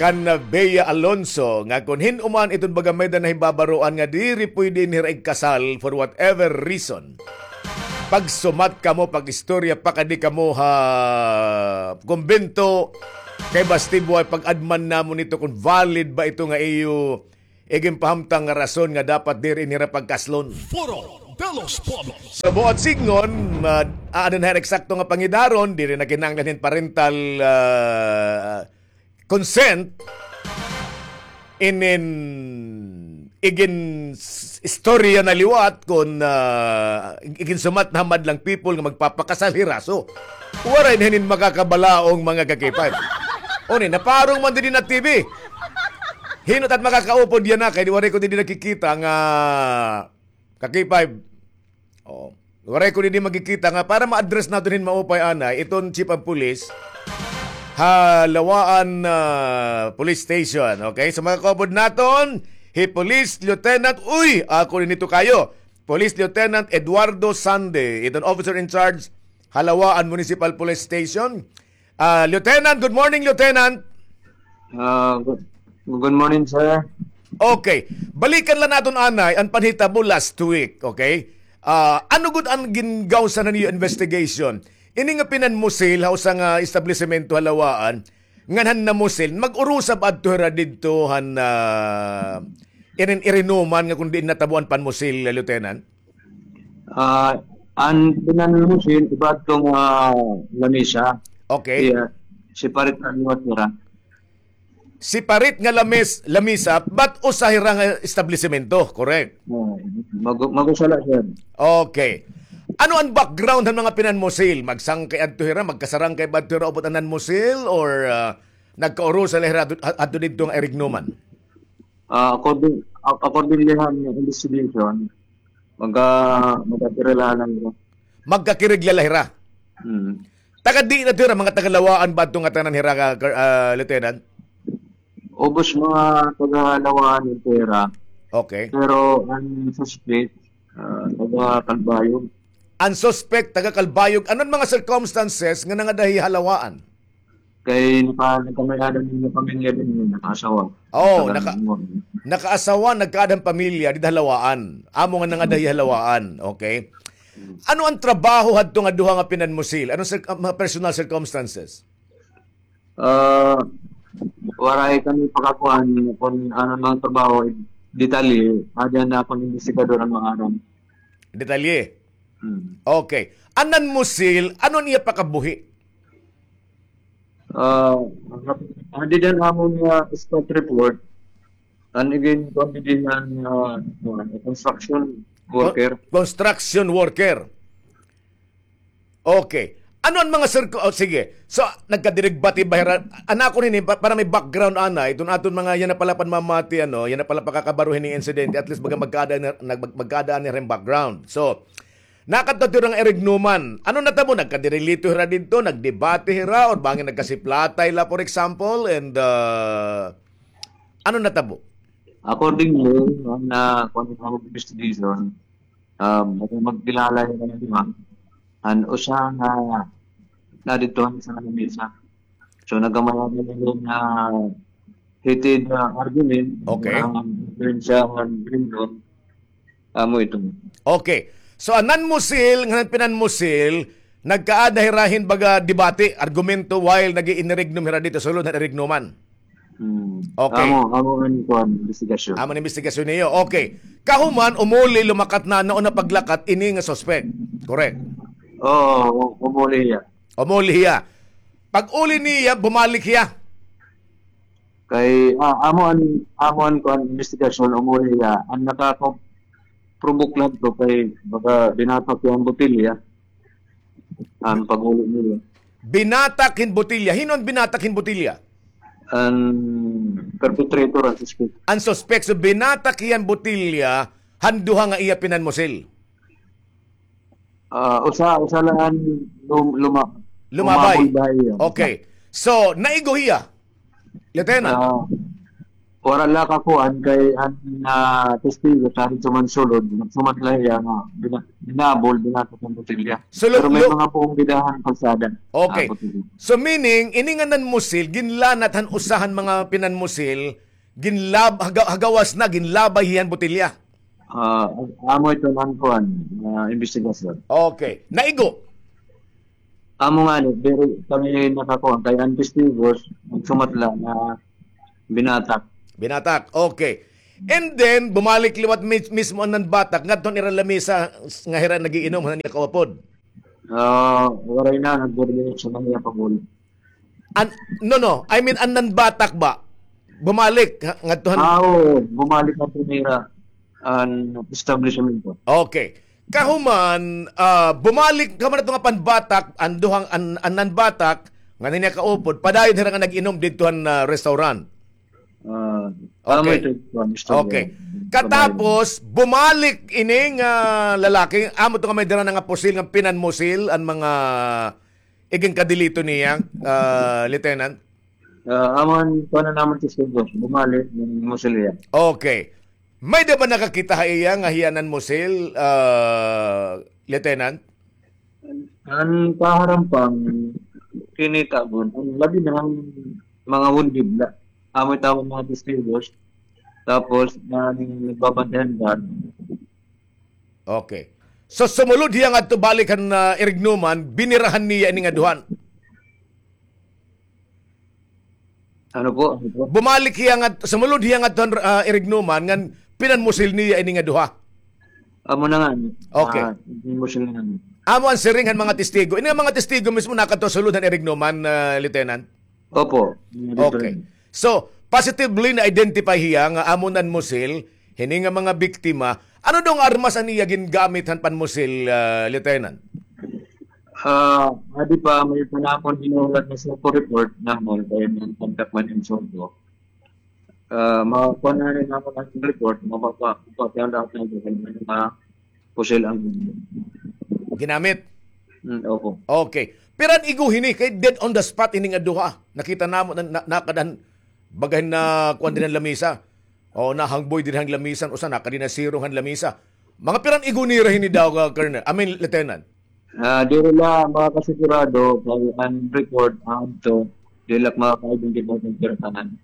kan, ah, Bea Alonso, nga kon hin-o man iton baga may-ada nahibabaroan nga diri pwede nira igkasal for whatever reason. Pagsumat kamo, pag-istorya, pakadi kamo ha kumbento, kay basti buhay pag-adman namon ito kon valid ba ito nga iyo iginpahamtang nga rason nga dapat diri nira pagkaslon. Foro de los Pueblos. Sa buot sidngon, ah, aada na hira eksakto nga pangidaron, diri na kinahanglan hin parental, ah, consent. Inin igin s-, istorya na liwat kon, ah, iginsumat na ha madlang people nga magpapakasal hira. So, waray na hinin makakabalaong mga ka-K five. Uni, naparong man didi na T V. Hin-o it makakaupod yana kay di waray ko didi nakikita nga ka-K five. Oh. Waray ko didi makikita nga para ma-address naton hin maupay anay iton chief of police ha Lawaan, ah, Police Station. Okay? So, makakaupod naton hi Police Lieutenant, uy, ako didi tukayo. Police Lieutenant Eduardo Sande, iton officer in charge ha Lawaan Municipal Police Station. Ah, Lieutenant, good morning, Lieutenant. Ah, good, good morning, sir. Okay. Balikan la naton anay an panhitabo last week, okay? Ah, ano gud an gingawsa na niyo investigation? Ini nga pinanmusil ha usa nga establisemento ha Lawaan, ngan han namusil, mag-urusa ba adto hira didto han, ah, inin irinuman nga kon diin natabo an panmusil, Lieutenant? Ah, an pinanmusil, iba adto nga lamesa. Okay. Iya, separate na liwat nira. Separate nga lames-, lamesa, but usa hira nga establisemento, correct? Oo, mag-, mag-usa la, sir. Okay. Ano an background han mga pinanmusil? Magsangkay adto hira, magkasarangkay ba adto hira upod an nanmusil, or, ah, nagkaurusa la hira adto, adto didto nga irignuman? Ah, according, ac-, according la han investigation, magka-, magkakirigla la hira. Magkakirigla la hira? Hmm. Taga diin adto hira, mga taga Lawaan ba adto nga tanan hira, ka-, ah, Lieutenant? Ubos mga taga Lawaan adto hira. Okay. Pero an suspect, ah, taga Calbayog. An suspect, taga Calbayog. Ano an mga circumstances nga nangada hi ha Lawaan? Kay naka-, nagkamay-ada hin pamilya dinhi, nakaasawa. Oh, naka-, nakaasawa, nagkaada hin pamilya dida ha Lawaan. Amo nga nangada hi ha Lawaan, okay? Ano an trabaho hadto nga duha nga pinanmusil? Ano sir, ah, mga personal circumstances? Ah, waray kami pakakuan kon ano mga trabaho, detalye, ada na akon investigador an maaram. Detalye? Hmm. Okay. An nanmusil, ano an iya pakabuhi? Ah, adi han amon nga spot report, an igin-, kuan didi han, ah, construction worker. Con-, construction worker. Okay. Ano an mga sir-, oh, sige. So, nagkadirigbati ba hira? An akon hini, pa-, para may background, anay, iton aton mga yana pala panmamati, ano, yana pala pakakabaro hini insidente, at least baga magkaada na, nag-, mag-, magkaada na rin background. So, nakadto hira nga irignuman. Ano natabo? Nagkadirilito hira didto, nagdebate hira, or bangin nagkasiplatay la, for example, and, uh, ano natabo? According to, an, ah, kuan, investigation, um, magkilala hira nga duha. An usa nga naa didto han isa nga lamesa. So, nagkamay-ada hira nga heated, ah, argument. Okay. An diferensya han grade, amo ito. Okay. So, an nanmusil, ngan an pinanmusil, nagkaada hira hin baga debate, argumento, while nag-iinirignum hira didto sulod han irignuman. Hmm. Okay. Amo, amo an kuan, investigasyon. Amo an investigasyon niyo. Okay. Kahuman, umuli, lumakat na, nauna paglakat ini nga suspect. Correct? Oo, umuli hiya. Umuli hiya. Pag-uli niya, bumalik hiya. Kay, ah, amo an, amo an kuan, investigasyon, umuli hiya. An nakaka-provoke lang to kay baga binatak hiya hin botilya. An pag-uli niya. Binatak hin botilya. Hin-o an binatak hin botilya? An perpetrator, an suspect. An suspect. So, binatak hiya hin botilya han duha nga iya pinanmusil. Ah, usa, usa la an lum-, luma-, lumabay. Lumabay hiya. Okay. So, naigo hiya, Lieutenant? Ah, Wara la kakuan kay an, ah, testigo sa didto man sulod, nagsumat la hiya nga bina-, binabol, binatak an botelya. So, lo-, Pero may lo-, mga puong bidahan kalsada. Okay. Ah, botelya. So, meaning, ini nga nanmusil, ginlanat han usa han mga pinanmusil, ginlab-, haga-, hagawas na, ginlabay hiya han botelya. Ah, amo ito an kuan, ah, investigasyon. Okay. Naigo? Amo ngani, diri kami nakakuan kay an testigos, nagsumat la nga binatak. Binatak, okay. And then, bumalik liwat mis-, mismo an nanbatak ngadto han ira lamesa nga hira nag-iinom han iya kaupod. Ah, waray na, nagburbulit sa iya pag-uli. An-, no, no. I mean, an nanbatak ba? Bumalik, ha, ngadto han Ah, oo, bumalik na po nira an establishment ko. Okay. Kahuman, ah, bumalik kahuman ato nga panbatak, an duhang, an, an nanbatak, nga niya kaupod, padayon hira nga nag-inom didto han, ah, restaurant. Ah, Okay. Tama ito, Mister Okay. Bumalik. Katapos, bumalik ini nga lalaki, amo to nga may dara na nga pusil, nga pinanmusil, an mga iginkadelito niya, ah, Lieutenant? Ah, amo an kuan namon testigo, bumalik, nanmusil hiya. Okay. May-ada ba nakakita ha iya nga hiya nanmusil, ah, Lieutenant? An kaharam pa, kinita gud. An labi na an mga wounded la. Amo it amon mga testigos. Tapos, an nagbabantayan guard. Okay. So, sumulod hiya ngadto balik han, ah, Irignuman, binirahan niya ini nga duha. Ano po? Ano po? Bumalik hiya ngat-, sumulod hiya ngadto han, ah, Irignuman, ngan pinanmusil niya ini nga duha. Amo na nga. Okay. Ah, pinanmusil na nga. Amo an siring han mga testigo. Ini nga mga testigo mismo nakadto sulod han Irignuman, ah, Lieutenant? Opo. Okay. So, positively na-identify hiya nga amo nanmusil hini nga mga biktima. Ano daw nga armas an iya gingamit han panmusil, ah, Lieutenant? Ah, adi pa, may pa namon hinulat nga SOCO report namon, kay may contact man in SOCO. Ah, makuha na rin namon an report, mapapa-, mapapa-, lahat ng mga pusil ang Ginamit? Mm, opo. Okay. Pero an igo hini, kay dead on the spot ini nga duha. Nakita namon na, na, nakadan, baga hin nakuan didi han lamesa. O, nahangboy didi han lamesa, usa nakadi nasirong han lamesa. Mga pira an igo nira hini daw, ah, Colonel? I mean, Lieutenant. Ah, diri la makasigurado, kay an report, ah, adto, diri la makaka-identify kon pira tanan.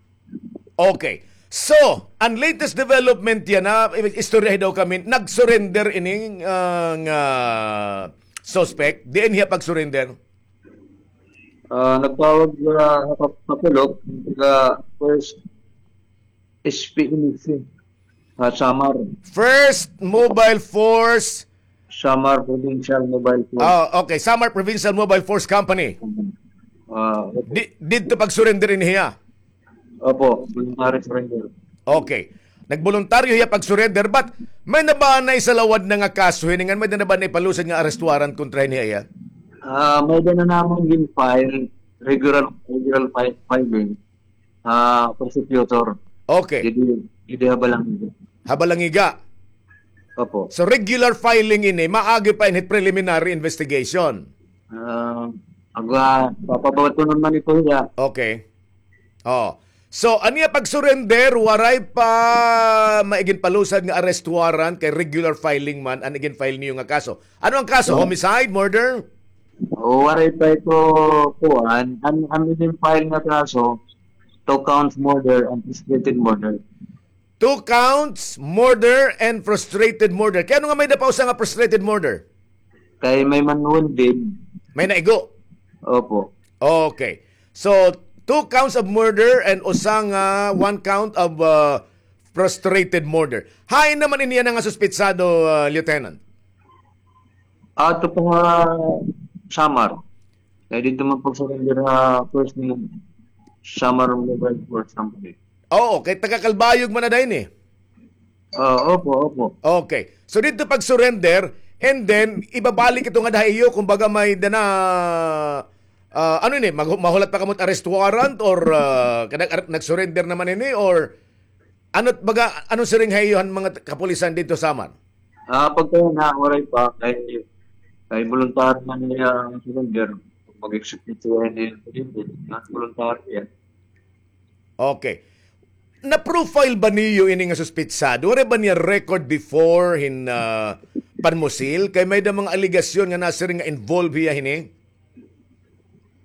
Okay. So, an latest development yana, istoryahi daw kami, nag-surrender ini, ah, nga suspect. Diin hiya pag-surrender? Ah, nagtawag, ah, sa kap-, kapulok, sa first S P M C, sa Samar. First Mobile Force. Samar Provincial Mobile Force. Ah, okay. Samar Provincial Mobile Force Company. Ah, okay. Di, didto pag-surrender ini hiya? Opo, voluntary surrender. Okay. Nagboluntaryo hiya pag-surrender, but may na ba naisalawad na nga kaso hini ngan may na ba naipalusad nga arrest warrant kontra hini hiya? Ah, may-ada na namon gin-file, regular, regular fi-, filing, ah, prosecutor. Okay. Didi, didi ha Balangiga. Ha Balangiga? Opo. So, regular filing ini, maagi pa ini preliminary investigation? Ah, aga, papabatunon man ito hiya. Okay. Oh. So, an iya pag-surrender, waray pa may iginpalusad nga arrest warrant kay regular filing man an igin-file niyo nga kaso. Ano an kaso? Oh. Homicide, murder? Oh, waray pa ito kuan. An, an igin-file nga kaso, two counts murder and frustrated murder. Two counts, murder and frustrated murder. Kay ano nga may-ada pa usa nga frustrated murder? Kay may man wounded. May naigo? Opo. Okay. So, two counts of murder and usa nga, one count of, uh, frustrated murder. Hain naman ini yana nga suspetsado, uh, Lieutenant? Ato pa nga Samar. Kay didto man pag-surrender ha first ni Samar Mobile Force Company. Oo, kay taga Calbayog man na dayon eh. Ah, opo, opo. Okay. So didto pag-surrender, and then ibabalik ito ngada ha iyo, kumbaga may-ada na, ah, ano ini, mag-, mahulat pa kamo arrest warrant or, ah, kanag-, ar-, nag-surrender naman ini or ano, baga, ano siring ha iyo han mga kapulisan didto Samar? Ah, pagka na, waray pa, kay, kay voluntary man niya ang surrender. Mag-execute siya ni, voluntary yan. Okay. Na-profile ba niyo ini nga suspetsado? Waray ba niya record before hin, ah, panmusil? Kay may da mga alegasyon nga nasiring nga involved hiya hini?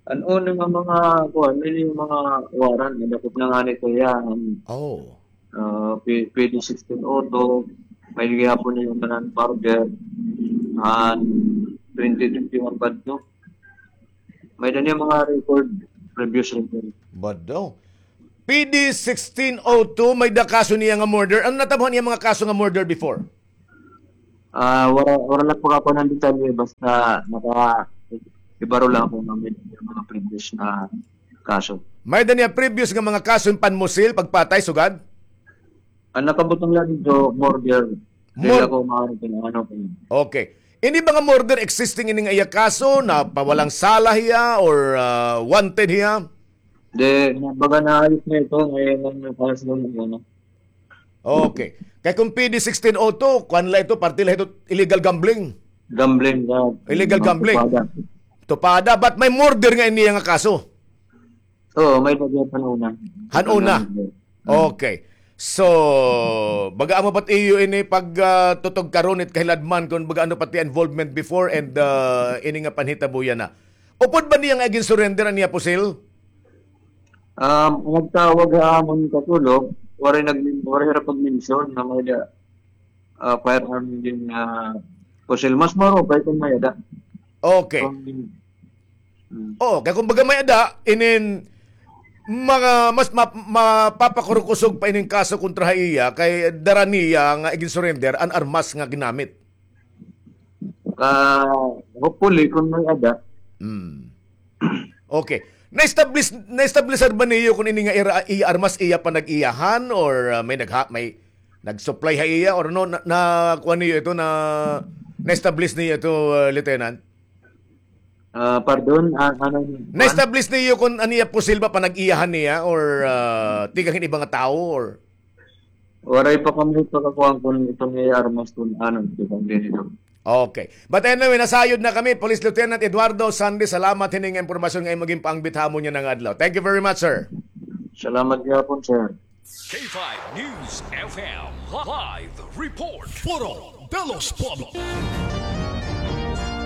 An una nga mga, kuan, may mga warrant, nadakop na ngani ito hiya, an, Oh. ah, P-, P D sixteen oh two, may gihapon niya mga murder, an twenty twenty-one pa ito. May da niya mga record, previous record. Bado. P D sixteen oh two, may da kaso niya nga murder. Ano natabo han iya mga kaso nga murder before? Ah, wala, wala lang pagkakuan ng detalye, basta naka-, ibaro lang ako ng may mga previous na kaso. May da niya previous nga mga kaso hin panmusil, pagpatay, sugad? An nakabutang lang dito, murder. Dili Mur- ako maaari kung ano kung Okay. Ini ba nga murder existing ini nga iya kaso, na pawalang sala hiya or, ah, wanted hiya? Di, baga naayos na ito, ngayon lang yung kaso ng ano. Okay. Kay kung P D sixteen oh two, kuan la ito, parte la ito, illegal gambling. Gambling, ah, Illegal ah, gambling. Tupada. Tupada, but may murder nga ini nga kaso. Oo, may lagi han una. Han una. Okay. So, baga amo pa it iyo ini pag, ah, tutog karon it kahiladman kon baga ano pa it iya involvement before and, ah, ini nga panhitabo yana. Upod ba niya nga igin-surrender an iya pusil? Um, nagtawag ha amon katulog, waray nag-, waray ra pag-mention na may da, ah, firearm din, ah, pusil. Mas maupay kung may ada. Okay. Kung, hmm. Oo, kay kumbaga may ada, inin mga mas ma-, mapapakurukusog pa inin kaso kontra ha iya, kay dara niya nga igin-surrender an armas nga ginamit. Ah, hopefully, kung may ada. Hmm. Okay. Na-establish, na-establishar ba niyo kung ini nga ira-, iya armas, iya pa nag-iyahan, or, ah, may nagha-, may nag-supply ha iya, or no, na, na, kuan niyo ito, na, na-establish niyo ito, ah, Lieutenant? Ah, pardon, ah, ano, kuan? Na-establish niyo kung an iya pusil ba panag-iyahan niya or, ah, tikang hin iba nga tawo or? Waray pa kami pagkakuan kung itong iya armas kung ano, tikang din ito. Okay. But anyway, nasayod na kami, Police Lieutenant Eduardo Sande, salamat hini nga impormasyon nga imo ginpaangbit ha amon yana nga adlaw. Thank you very much, sir. Salamat gihapon, sir. K five News F M live report. Foro de los Pueblos.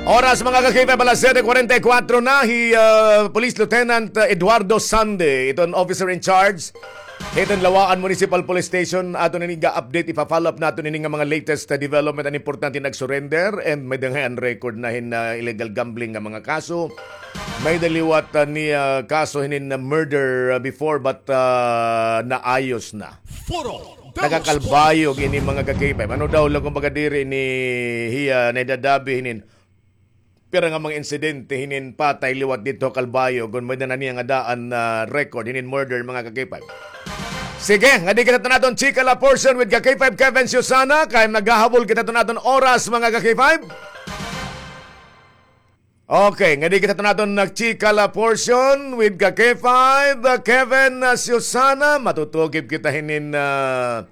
Oras, mga ka-K five, alas siyete kuwarenta y kuwatro na. Hi, ah, Police Lieutenant, ah, Eduardo Sande, iton officer in charge hiton Laua-an Municipal Police Station. Aton ini ga-update, ipa-follow up naton ini nga mga latest, ah, development, an importante nag-surrender and may da ngay-an record na hin, ah, illegal gambling nga mga kaso. May da liwat, ah, ni, ah, kaso hinin, ah, murder, ah, before, but, ah, naayos na. Foro de los Taga Calbayog ini, mga ka-K five. Ano daw la, kumbaga, diri ni hiya naidadabi hinin pira nga mga insidente hinin patay liwat didto ha Calbayog, kon may da na niya nga daan na record hinin murder, mga ka-K five. Sige, ngadi kita tun aton chika la portion with ka-K five Kevin Susana, kay naghahabol kita tun aton oras, mga ka-K five. Okay, ngadi kita tun aton nagchika la portion with ka-K five, uh, Kevin, uh, Susana. Matutukib kita hinin, uh,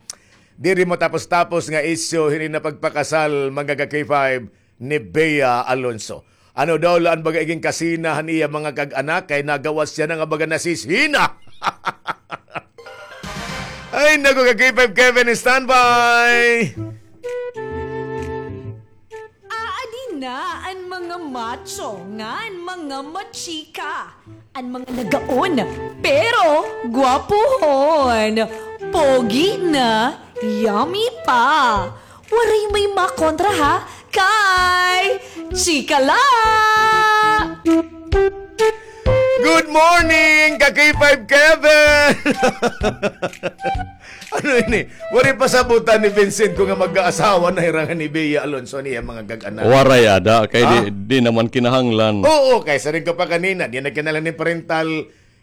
diri matapos-tapos nga isyu hinin nga pagpakasal, mga ka-K five, ni Bea Alonso. Ano daw la an baga igin kasina han iya mga kag-anak kay nagawas hiya na nga baga nasisina. Ay, naku, ka-K five Kevin, standby. Aadi na an mga macho ngan mga machika, an mga nagaon, pero gwapuhon, pogi na, yummy pa. Waray may makontra ha kay Chika La! Good morning, ka-K five Kevin! Ano ini? Waray pasabutan ni Vincent ko nga mag-aasawa na hira ngan ni Bea Alonso niya mga kag-anak. Waray ada, kay di, ah, di naman kinahanglan. Oo, kay siring ko pa kanina, di na kinahanglan ni parental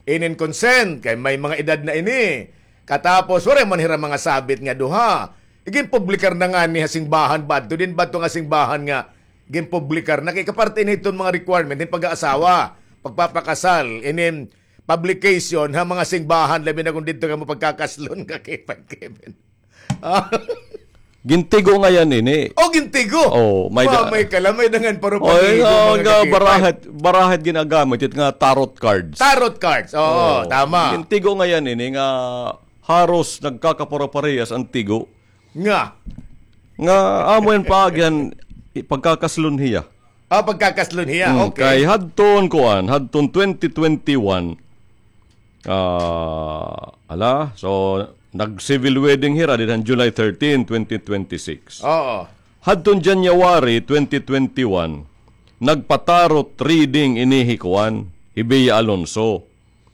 inin consent, kay may mga edad na ini. Katapos, waray man hira mga sabit nga duha. Iginpublikar na ngani ha singbahan ba adto, din ba adto nga singbahan nga ginpublikar na kay kaparte ini hiton mga requirement hin pag-aasawa, pagpapakasal, inin publication ha mga singbahan, labi na kon didto kamo pagkakaslon ka kay Pag Kevin. Ah. Gintigo ngay-an ini. Oh, gintigo. Oh, may da-, may kalamay dangan paro. Oh, pag-igo, oh, mga nga kakipag. Barahat, barahat ginagamit it nga tarot cards. Tarot cards. Oo, oh, tama. Gintigo ngay-an ini nga haros nagkakapare-parehas an tigo. Nga? Nga amo yan paagihan, i-, pagkakaslon hiya. Ah, pagkakaslon hiya. Mm, okay. Kay hadton kuan, hadton twenty twenty-one. Ah, ala, so nag-civil wedding hira didhan July thirteen, twenty twenty-six. Oo. Hadton January twenty twenty-one, nagpa-tarot reading ini hi kuan, hi Bea Alonso.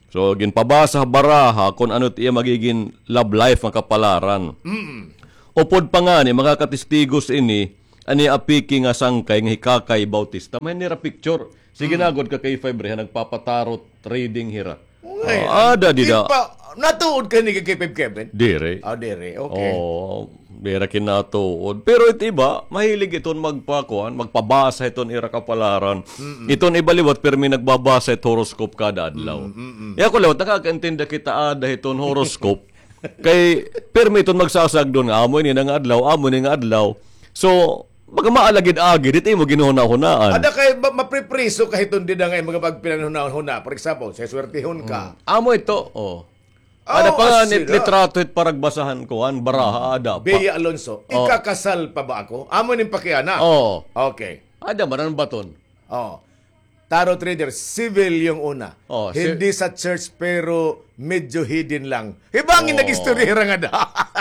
So, ginpabasa baraha kon ano it iya magigin love life nga kapalaran. Mm. Upod pa ngani, makakatistigos ini, ani apiki nga sangkay nga hi Kakay Bautista. May nira picture. Sige na gud ka K five re, ha, nagpapatarot reading hira. Ngay, ah, ada dida. Natuod ka ni K five Kevin? Diri. Ah, diri. Okay. Oh, dira kinatuod. Pero it iba, mahilig iton magpakuan, magpabasa iton ira kapalaran. Mm-mm. Iton iba liwat, pirmi nagbabasa it horoscope kada adlaw. Mm-mm. Iya ko liwat, nakakaintindi kita ada hiton horoscope. Kay pirmi iton magsasagdon nga, amo ini nga adlaw, amo ini nga adlaw. So, baga maalagid-agid, it imo ginhunahunaan. Ada kay ma-, mapripriso ka hiton dida nga mga pagpinanhunahuna. For example, seswertihon ka. Mm. Amo ito, oh. Ada pa nga litrato it paragbasahan ko, an baraha, ada pa. Bea Alonso, ikakasal pa ba ako? Amo ning pakiana. Oo. Okay. Ada man an baton. Oo. Tarot reader, civil yung una. Oh, si- Hindi sa church, pero medyo hidden lang. Hibangin nag-istorya hira nga da.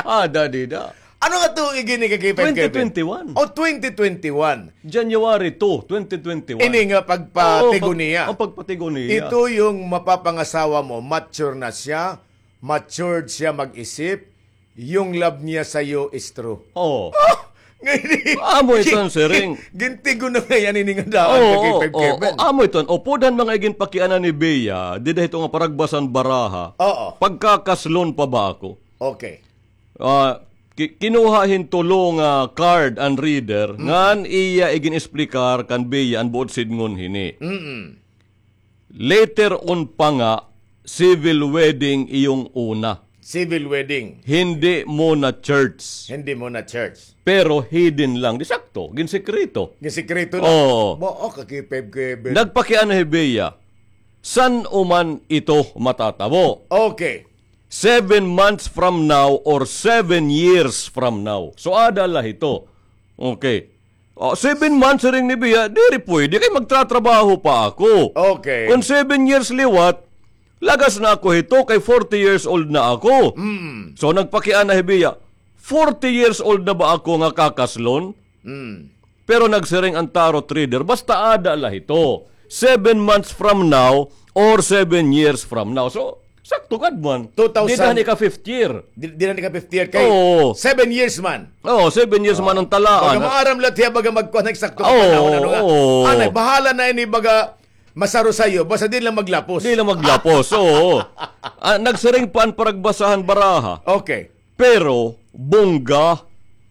Ada dida. Ano nga tuig ini ka K five Kevin? Twenty twenty-one. Oh, twenty twenty-one. January two, twenty twenty-one. Ini nga pagpatigo niya. Oo, pag-, ang pagpatigo niya. Ito yung mapapangasawa mo, mature na siya, matured siya mag-isip, yung love niya sa'yo is true. Oo. Ah! Ngayon, amo ito an siring. Gintigo na ngay-an ini nga daan ka K five Kevin. Oo, amo ito an upod han mga iginpakiana ni Bea, dida hito nga paragbasan baraha. Oo. Pagkakaslon pa ba ako? Okay. Ah, ki-, kinuha hin tulo nga card an reader, ngan iya igin-esplikar kan Bea an buot sidngon hini. Mm-mm. Later on pa nga, civil wedding iyong una. Civil wedding. Hindi muna church. Hindi muna church. Pero hidden lang. Di sakto. Ginsikreto. Ginsikreto lang. Oo. Ba, oh, ka K five Kevin. Nagpakiana hi Bea. San-o man ito matatabo? Okay. Seven months from now or seven years from now. So, ada la hito. Okay. Oh, seven months, siring ni Bea, diri pwede kay magtratrabaho pa ako. Okay. Kon seven years liwat, lagas na ako hito kay forty years old na ako. Mm. So, nagpakiana hi Bea, forty years old na ba ako nga kakaslon? Mm. Pero nagsiring an tarot reader, basta ada la hito. Seven months from now or seven years from now. So, sakto gad man. Two thousand. Dida han ika-fifth year. Di, dida han ika-fifth year kay seven years man. Oo, seven years man an talaan. Baga maaram la hiya, baga magkuan, eksakto nga panahon, ano nga. Oo. Anay, bahala na ini, baga masaro sayo, basta di lang maglapos. Di lang maglapos, oo. Ah, nagsiring pa an paragbasahan baraha. Okay. Pero, bongga,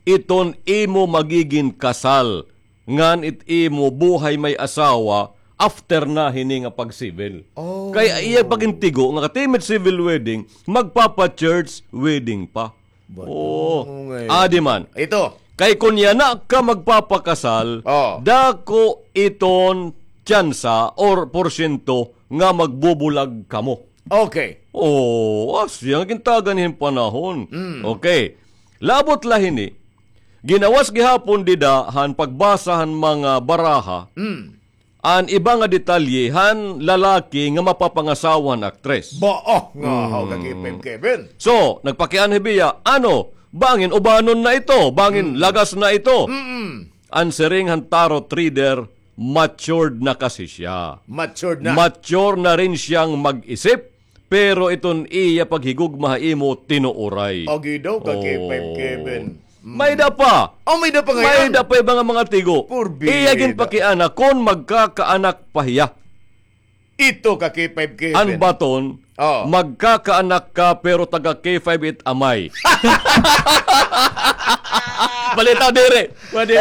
iton imo magigin kasal, ngan it imo buhay may asawa, after na hini nga pag-civil. Oh. Kay iya pagintigo nga katimid civil wedding, magpapa-church wedding pa. Oo. Adi man. Ito. Kay kon yana ka magpapakasal, dako iton tsansa or porsyento nga magbubulag kamo. Okay. Oh, asya nga gintagan hin panahon. Mm. Okay. Labot la hini. Ginawas gihapon dida han pagbasa han mga baraha. Mm. An iba nga detalye han lalaki nga mapapangasawa han aktres. Ba, oh, nga, how ka Kevin, Kevin. So, nagpakiana hi Bea, ano, bangin ubanon na ito, bangin lagas na ito. Mm-mm. An siring han tarot reader, matured na kasi siya. Matured na. Mature na rin siyang mag-isip, pero iton iya paghigugma ha imo tinuoray. Agi daw ka K five Kevin. Mm. May-ada pa. Oh, may-ada pa ngayon? May-ada pa iba nga mga tigo. Iya ginpakiana kon magkakaanak pa hiya. Ito ka K five Kevin. An baton, magkakaanak ka pero taga K five it amay. Balitaw diri. Pwede.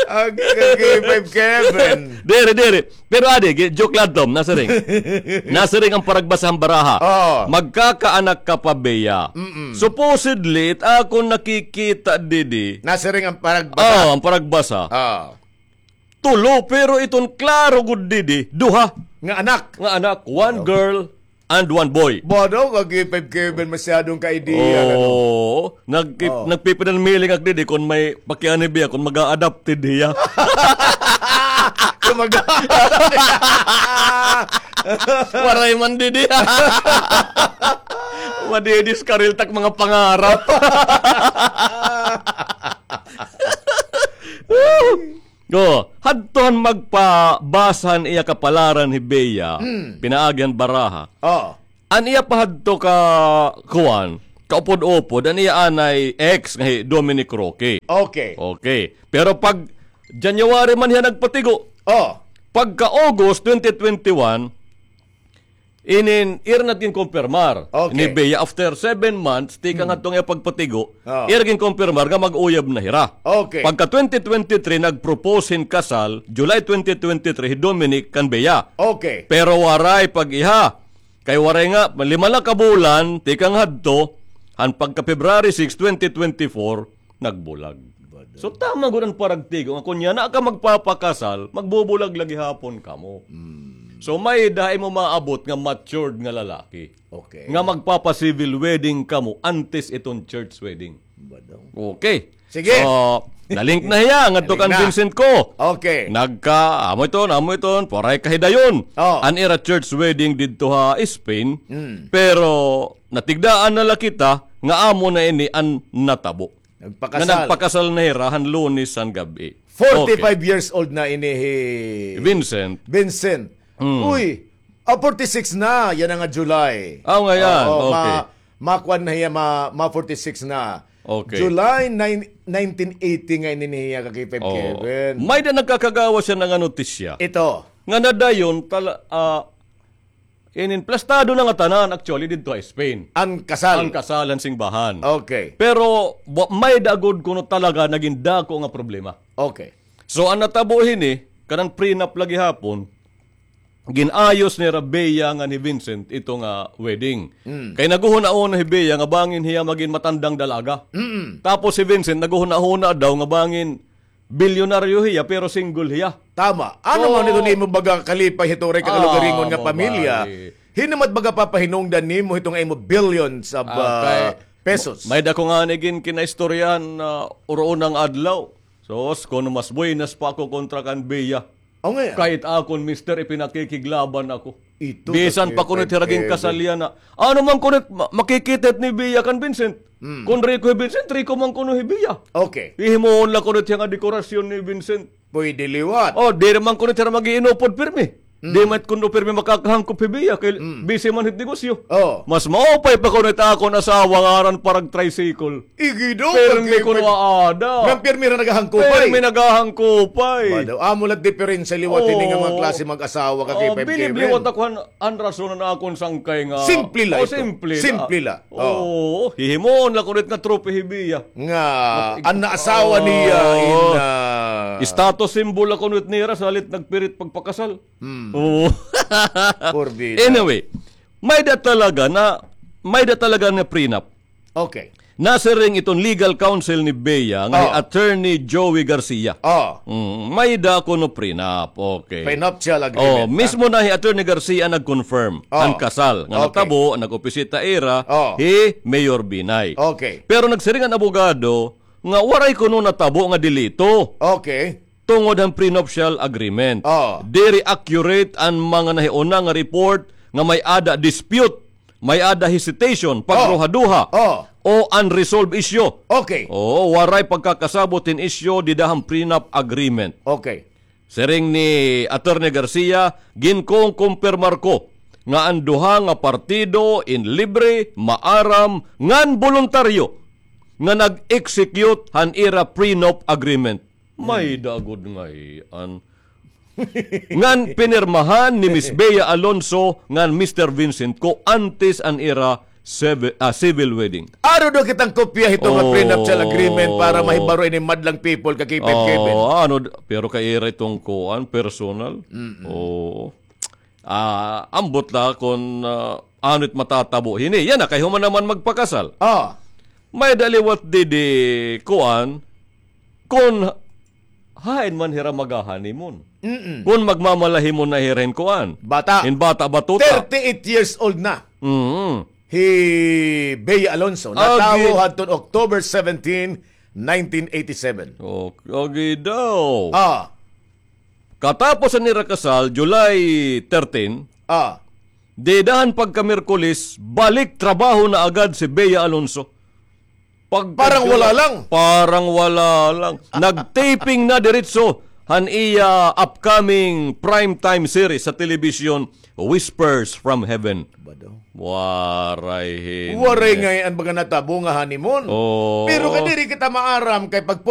Ang ka K five Kevin. Diri, diri. Pero adi, gi-, joke lang, Tom. Nasiring. Nasiring an paragbasa han baraha. Oo. Magkakaanak ka pa, Bea. Mm-mm. Supposedly, it akon nakikita didi. Nasiring an paragbasa. Oo, an paragbasa. Oo. Tulo, pero iton klaro gud didi, duha. Nga anak. Nga anak, one girl and one boy. Bodo, kag Five Kevin, masyadong ka-idea, ano? Oo. Nagki-, Oh. nagpipinanmiling ak didi kon may pakianhi biya, kon mag-a-adopted hiya. Kon mag-a-adopted. Waray man didi. Madidiskaril tak mga pangarap. Oh, hadto han magpabasa han iya kapalaran hi Bea, Hmm. pinaagi han baraha. Oh. An iya pa hadto ka, kuan, kaupod-upod, an iya anay ex nga hi Dominic Roque. Okay. Okay. Pero pag January man hiya nagpatigo. Oh. Pagka August twenty twenty-one, inin, ira na it ginkumpirmar. Okay. Ni Bea, after seven months, tikang Hmm. hadto nga pagpatigo, Oh. ira ginkumpirmar nga mag-uyab na hira. Okay. Pagka twenty twenty-three, nag-propose hin kasal, July twenty twenty-three, hi Dominic kan Bea. Okay. Pero waray pag-iha. Kay waray nga, lima la ka bulan, tikang hadto, han pagka February six, twenty twenty-four, nagbulag. Bado. So, tama gud an paragtigo nga kon yana ka magpapakasal, magbubulag la gihapon kamo. Mm. So, may-ada imo maabot nga matured nga lalaki. Okay. Nga magpapa-civil wedding kamo antes iton church wedding. Bado. Okay. Sige. So, nalink na hiya ngadto kan Vincent ko. Okay. Nagka, amo iton, amo iton, waray kahidayon. Oh. An ira church wedding didto ha Spain. Mm. Pero, natigdaan na la kita nga amo na ini an natabo. Nagpakasal. Nga nagpakasal na hira han Lunes han gab-i. Forty-five Okay. years old na ini hi Vincent. Vincent. Mm. Uy, ah, forty-six na, yana nga July. Ah, nga yan. Oo, Okay. ma-, makuan na hiya, ma-, ma-forty-six na. Okay. July nine, nineteen eighty nga ini hiya, Ka-K five Oo. Kevin. May-ada nagkakagawas hiya nga notisya. Ito. Nga nadayon, tala-, ah, Inin plastado na nga tanan, actually, didto ha Spain. An kasal. An kasal han singbahan. Okay. Pero, wa-, may-ada gud kuno talaga nagin dako nga problema. Okay. So, an natabo hini, kanan prenup la gihapon, gin-ayos nira Bea ngan hi Vincent ito nga wedding. Mm. Kay naghunahuna hi Bea nga bangin hiya magin matandang dalaga. Mm-mm. Tapos si Vincent naghunahuna daw nga bangin bilyonaryo hiya, pero single hiya. Tama. Ano So, man ito nimo baga kalipay hito ray ah, kakalugaringon nga mo pamilya? Bay. Hin-o man it baga papahinungdan nimo hito nga imo billions of, Ah, ah, kay, pesos? May-ada ko ngani gin kinaistoryahan, ah, uroon nga adlaw. Sos, kuno mas buenas pa ako kontra kan Bea. O nga. Kay it akon mister, ipinakikiglaban ako. Ito, Bisan pa kuno it hira ginkasal yana. Ano man kuno it ma-, makikita it ni Bea kan Vincent? Mm. Kon riko hi Vincent, riko man kuno hi Bea. Okay. Hihimuon la kuno it hiya nga dekorasyon ni Vincent. Pwede liwat. Oh, diri man kuno it hira mag-iinupod pirmi. Mm. Di man kuno pirmi makakahangkop hi Bea kay Mm. busy man hit negosyo. Oh. Mas maupay pa kuno it akon asawa nga aran parag tricycle. Igido, pirmi kuno aada. Ngan pirmi hira nagahangkupay. Pirmi nagahangkupay. Bado, amo la it diferensya liwat hini nga mga klase mag-asawa, Ka-K five Kevin. Bilib liwat ako han, han rason han akon sangkay nga. Simple la ito. Simple la. Simple la. Oo, hihimuon la kuno it nga trophy hi Bea. Nga, an naasawa niya in, ah, status symbol la kuno it nira, salit nagpirit pagpakasal. Hmm. Oo. Porbida. Anyway, may-ada talaga na, may-ada talaga na prenup. Okay. Nasiring iton legal counsel ni Bea nga hi Attorney Joey Garcia. Oh. Mm, may-ada kuno prenup. Okay. Prenuptial agreement, Oh, ha? Mismo na hi Attorney Garcia nag-confirm Oh. an kasal nga Okay. natabo, nag-opisita ira Oh. hi Mayor Binay. Okay. Pero nagsiring an abogado nga waray kuno natabo nga delito. Okay. Tungod han prenuptial agreement. Oh. Diri accurate an mga nahiuna nga report nga may-ada dispute, may-ada hesitation, Oh. pagduha-duha, Oh. o unresolved issue. Okay. Oo, waray pagkakasabot hin isyu dida han prenup agreement. Okay. Siring ni Attorney Garcia, ginkongkompirmar ko nga an duha nga partido in libre, maaram, ngan boluntaryo nga nag-execute han ira prenup agreement. May-ada gud ngay-an. Ngan pinirmahan ni Miss Bea Alonso ngan Mister Vincent Co antes an ira civi-, ah, civil wedding. Aro daw kitang kopya hito nga Oh. prenuptial agreement para mahibaro ini madlang people, Ka-K five Kevin. Oh, ano d-, pero kay ira iton kuan, personal. Mm-mm. Oo. Ah, ambot la kon, ah, ano it matatabo hini. Yana, kay human naman magpakasal. Ah. May-ada liwat didi kuan, kon hain man hira maga-honeymoon. Mm-mm. Kun magmamalahimon na hira hin kuan. Bata. Hin bata, batuta. Thirty-eight years old na. Mm. Hi Bea Alonso. Agi- Natawo hadton October seventeen, nineteen eighty-seven. Oh, agi daw. Ah. Katapos han ira kasal, July thirteen, Ah. dida han pagka-Miyerkules, balik trabaho na agad si Bea Alonso. Pag- Parang wala lang. Parang wala lang. Nag-taping na diretso han iya upcoming primetime series sa telebisyon, Whispers from Heaven. Ba daw? Waray hin- Waray ngay-an baga natabo nga honeymoon. Oo. Pero kay diri kita maaram kay pag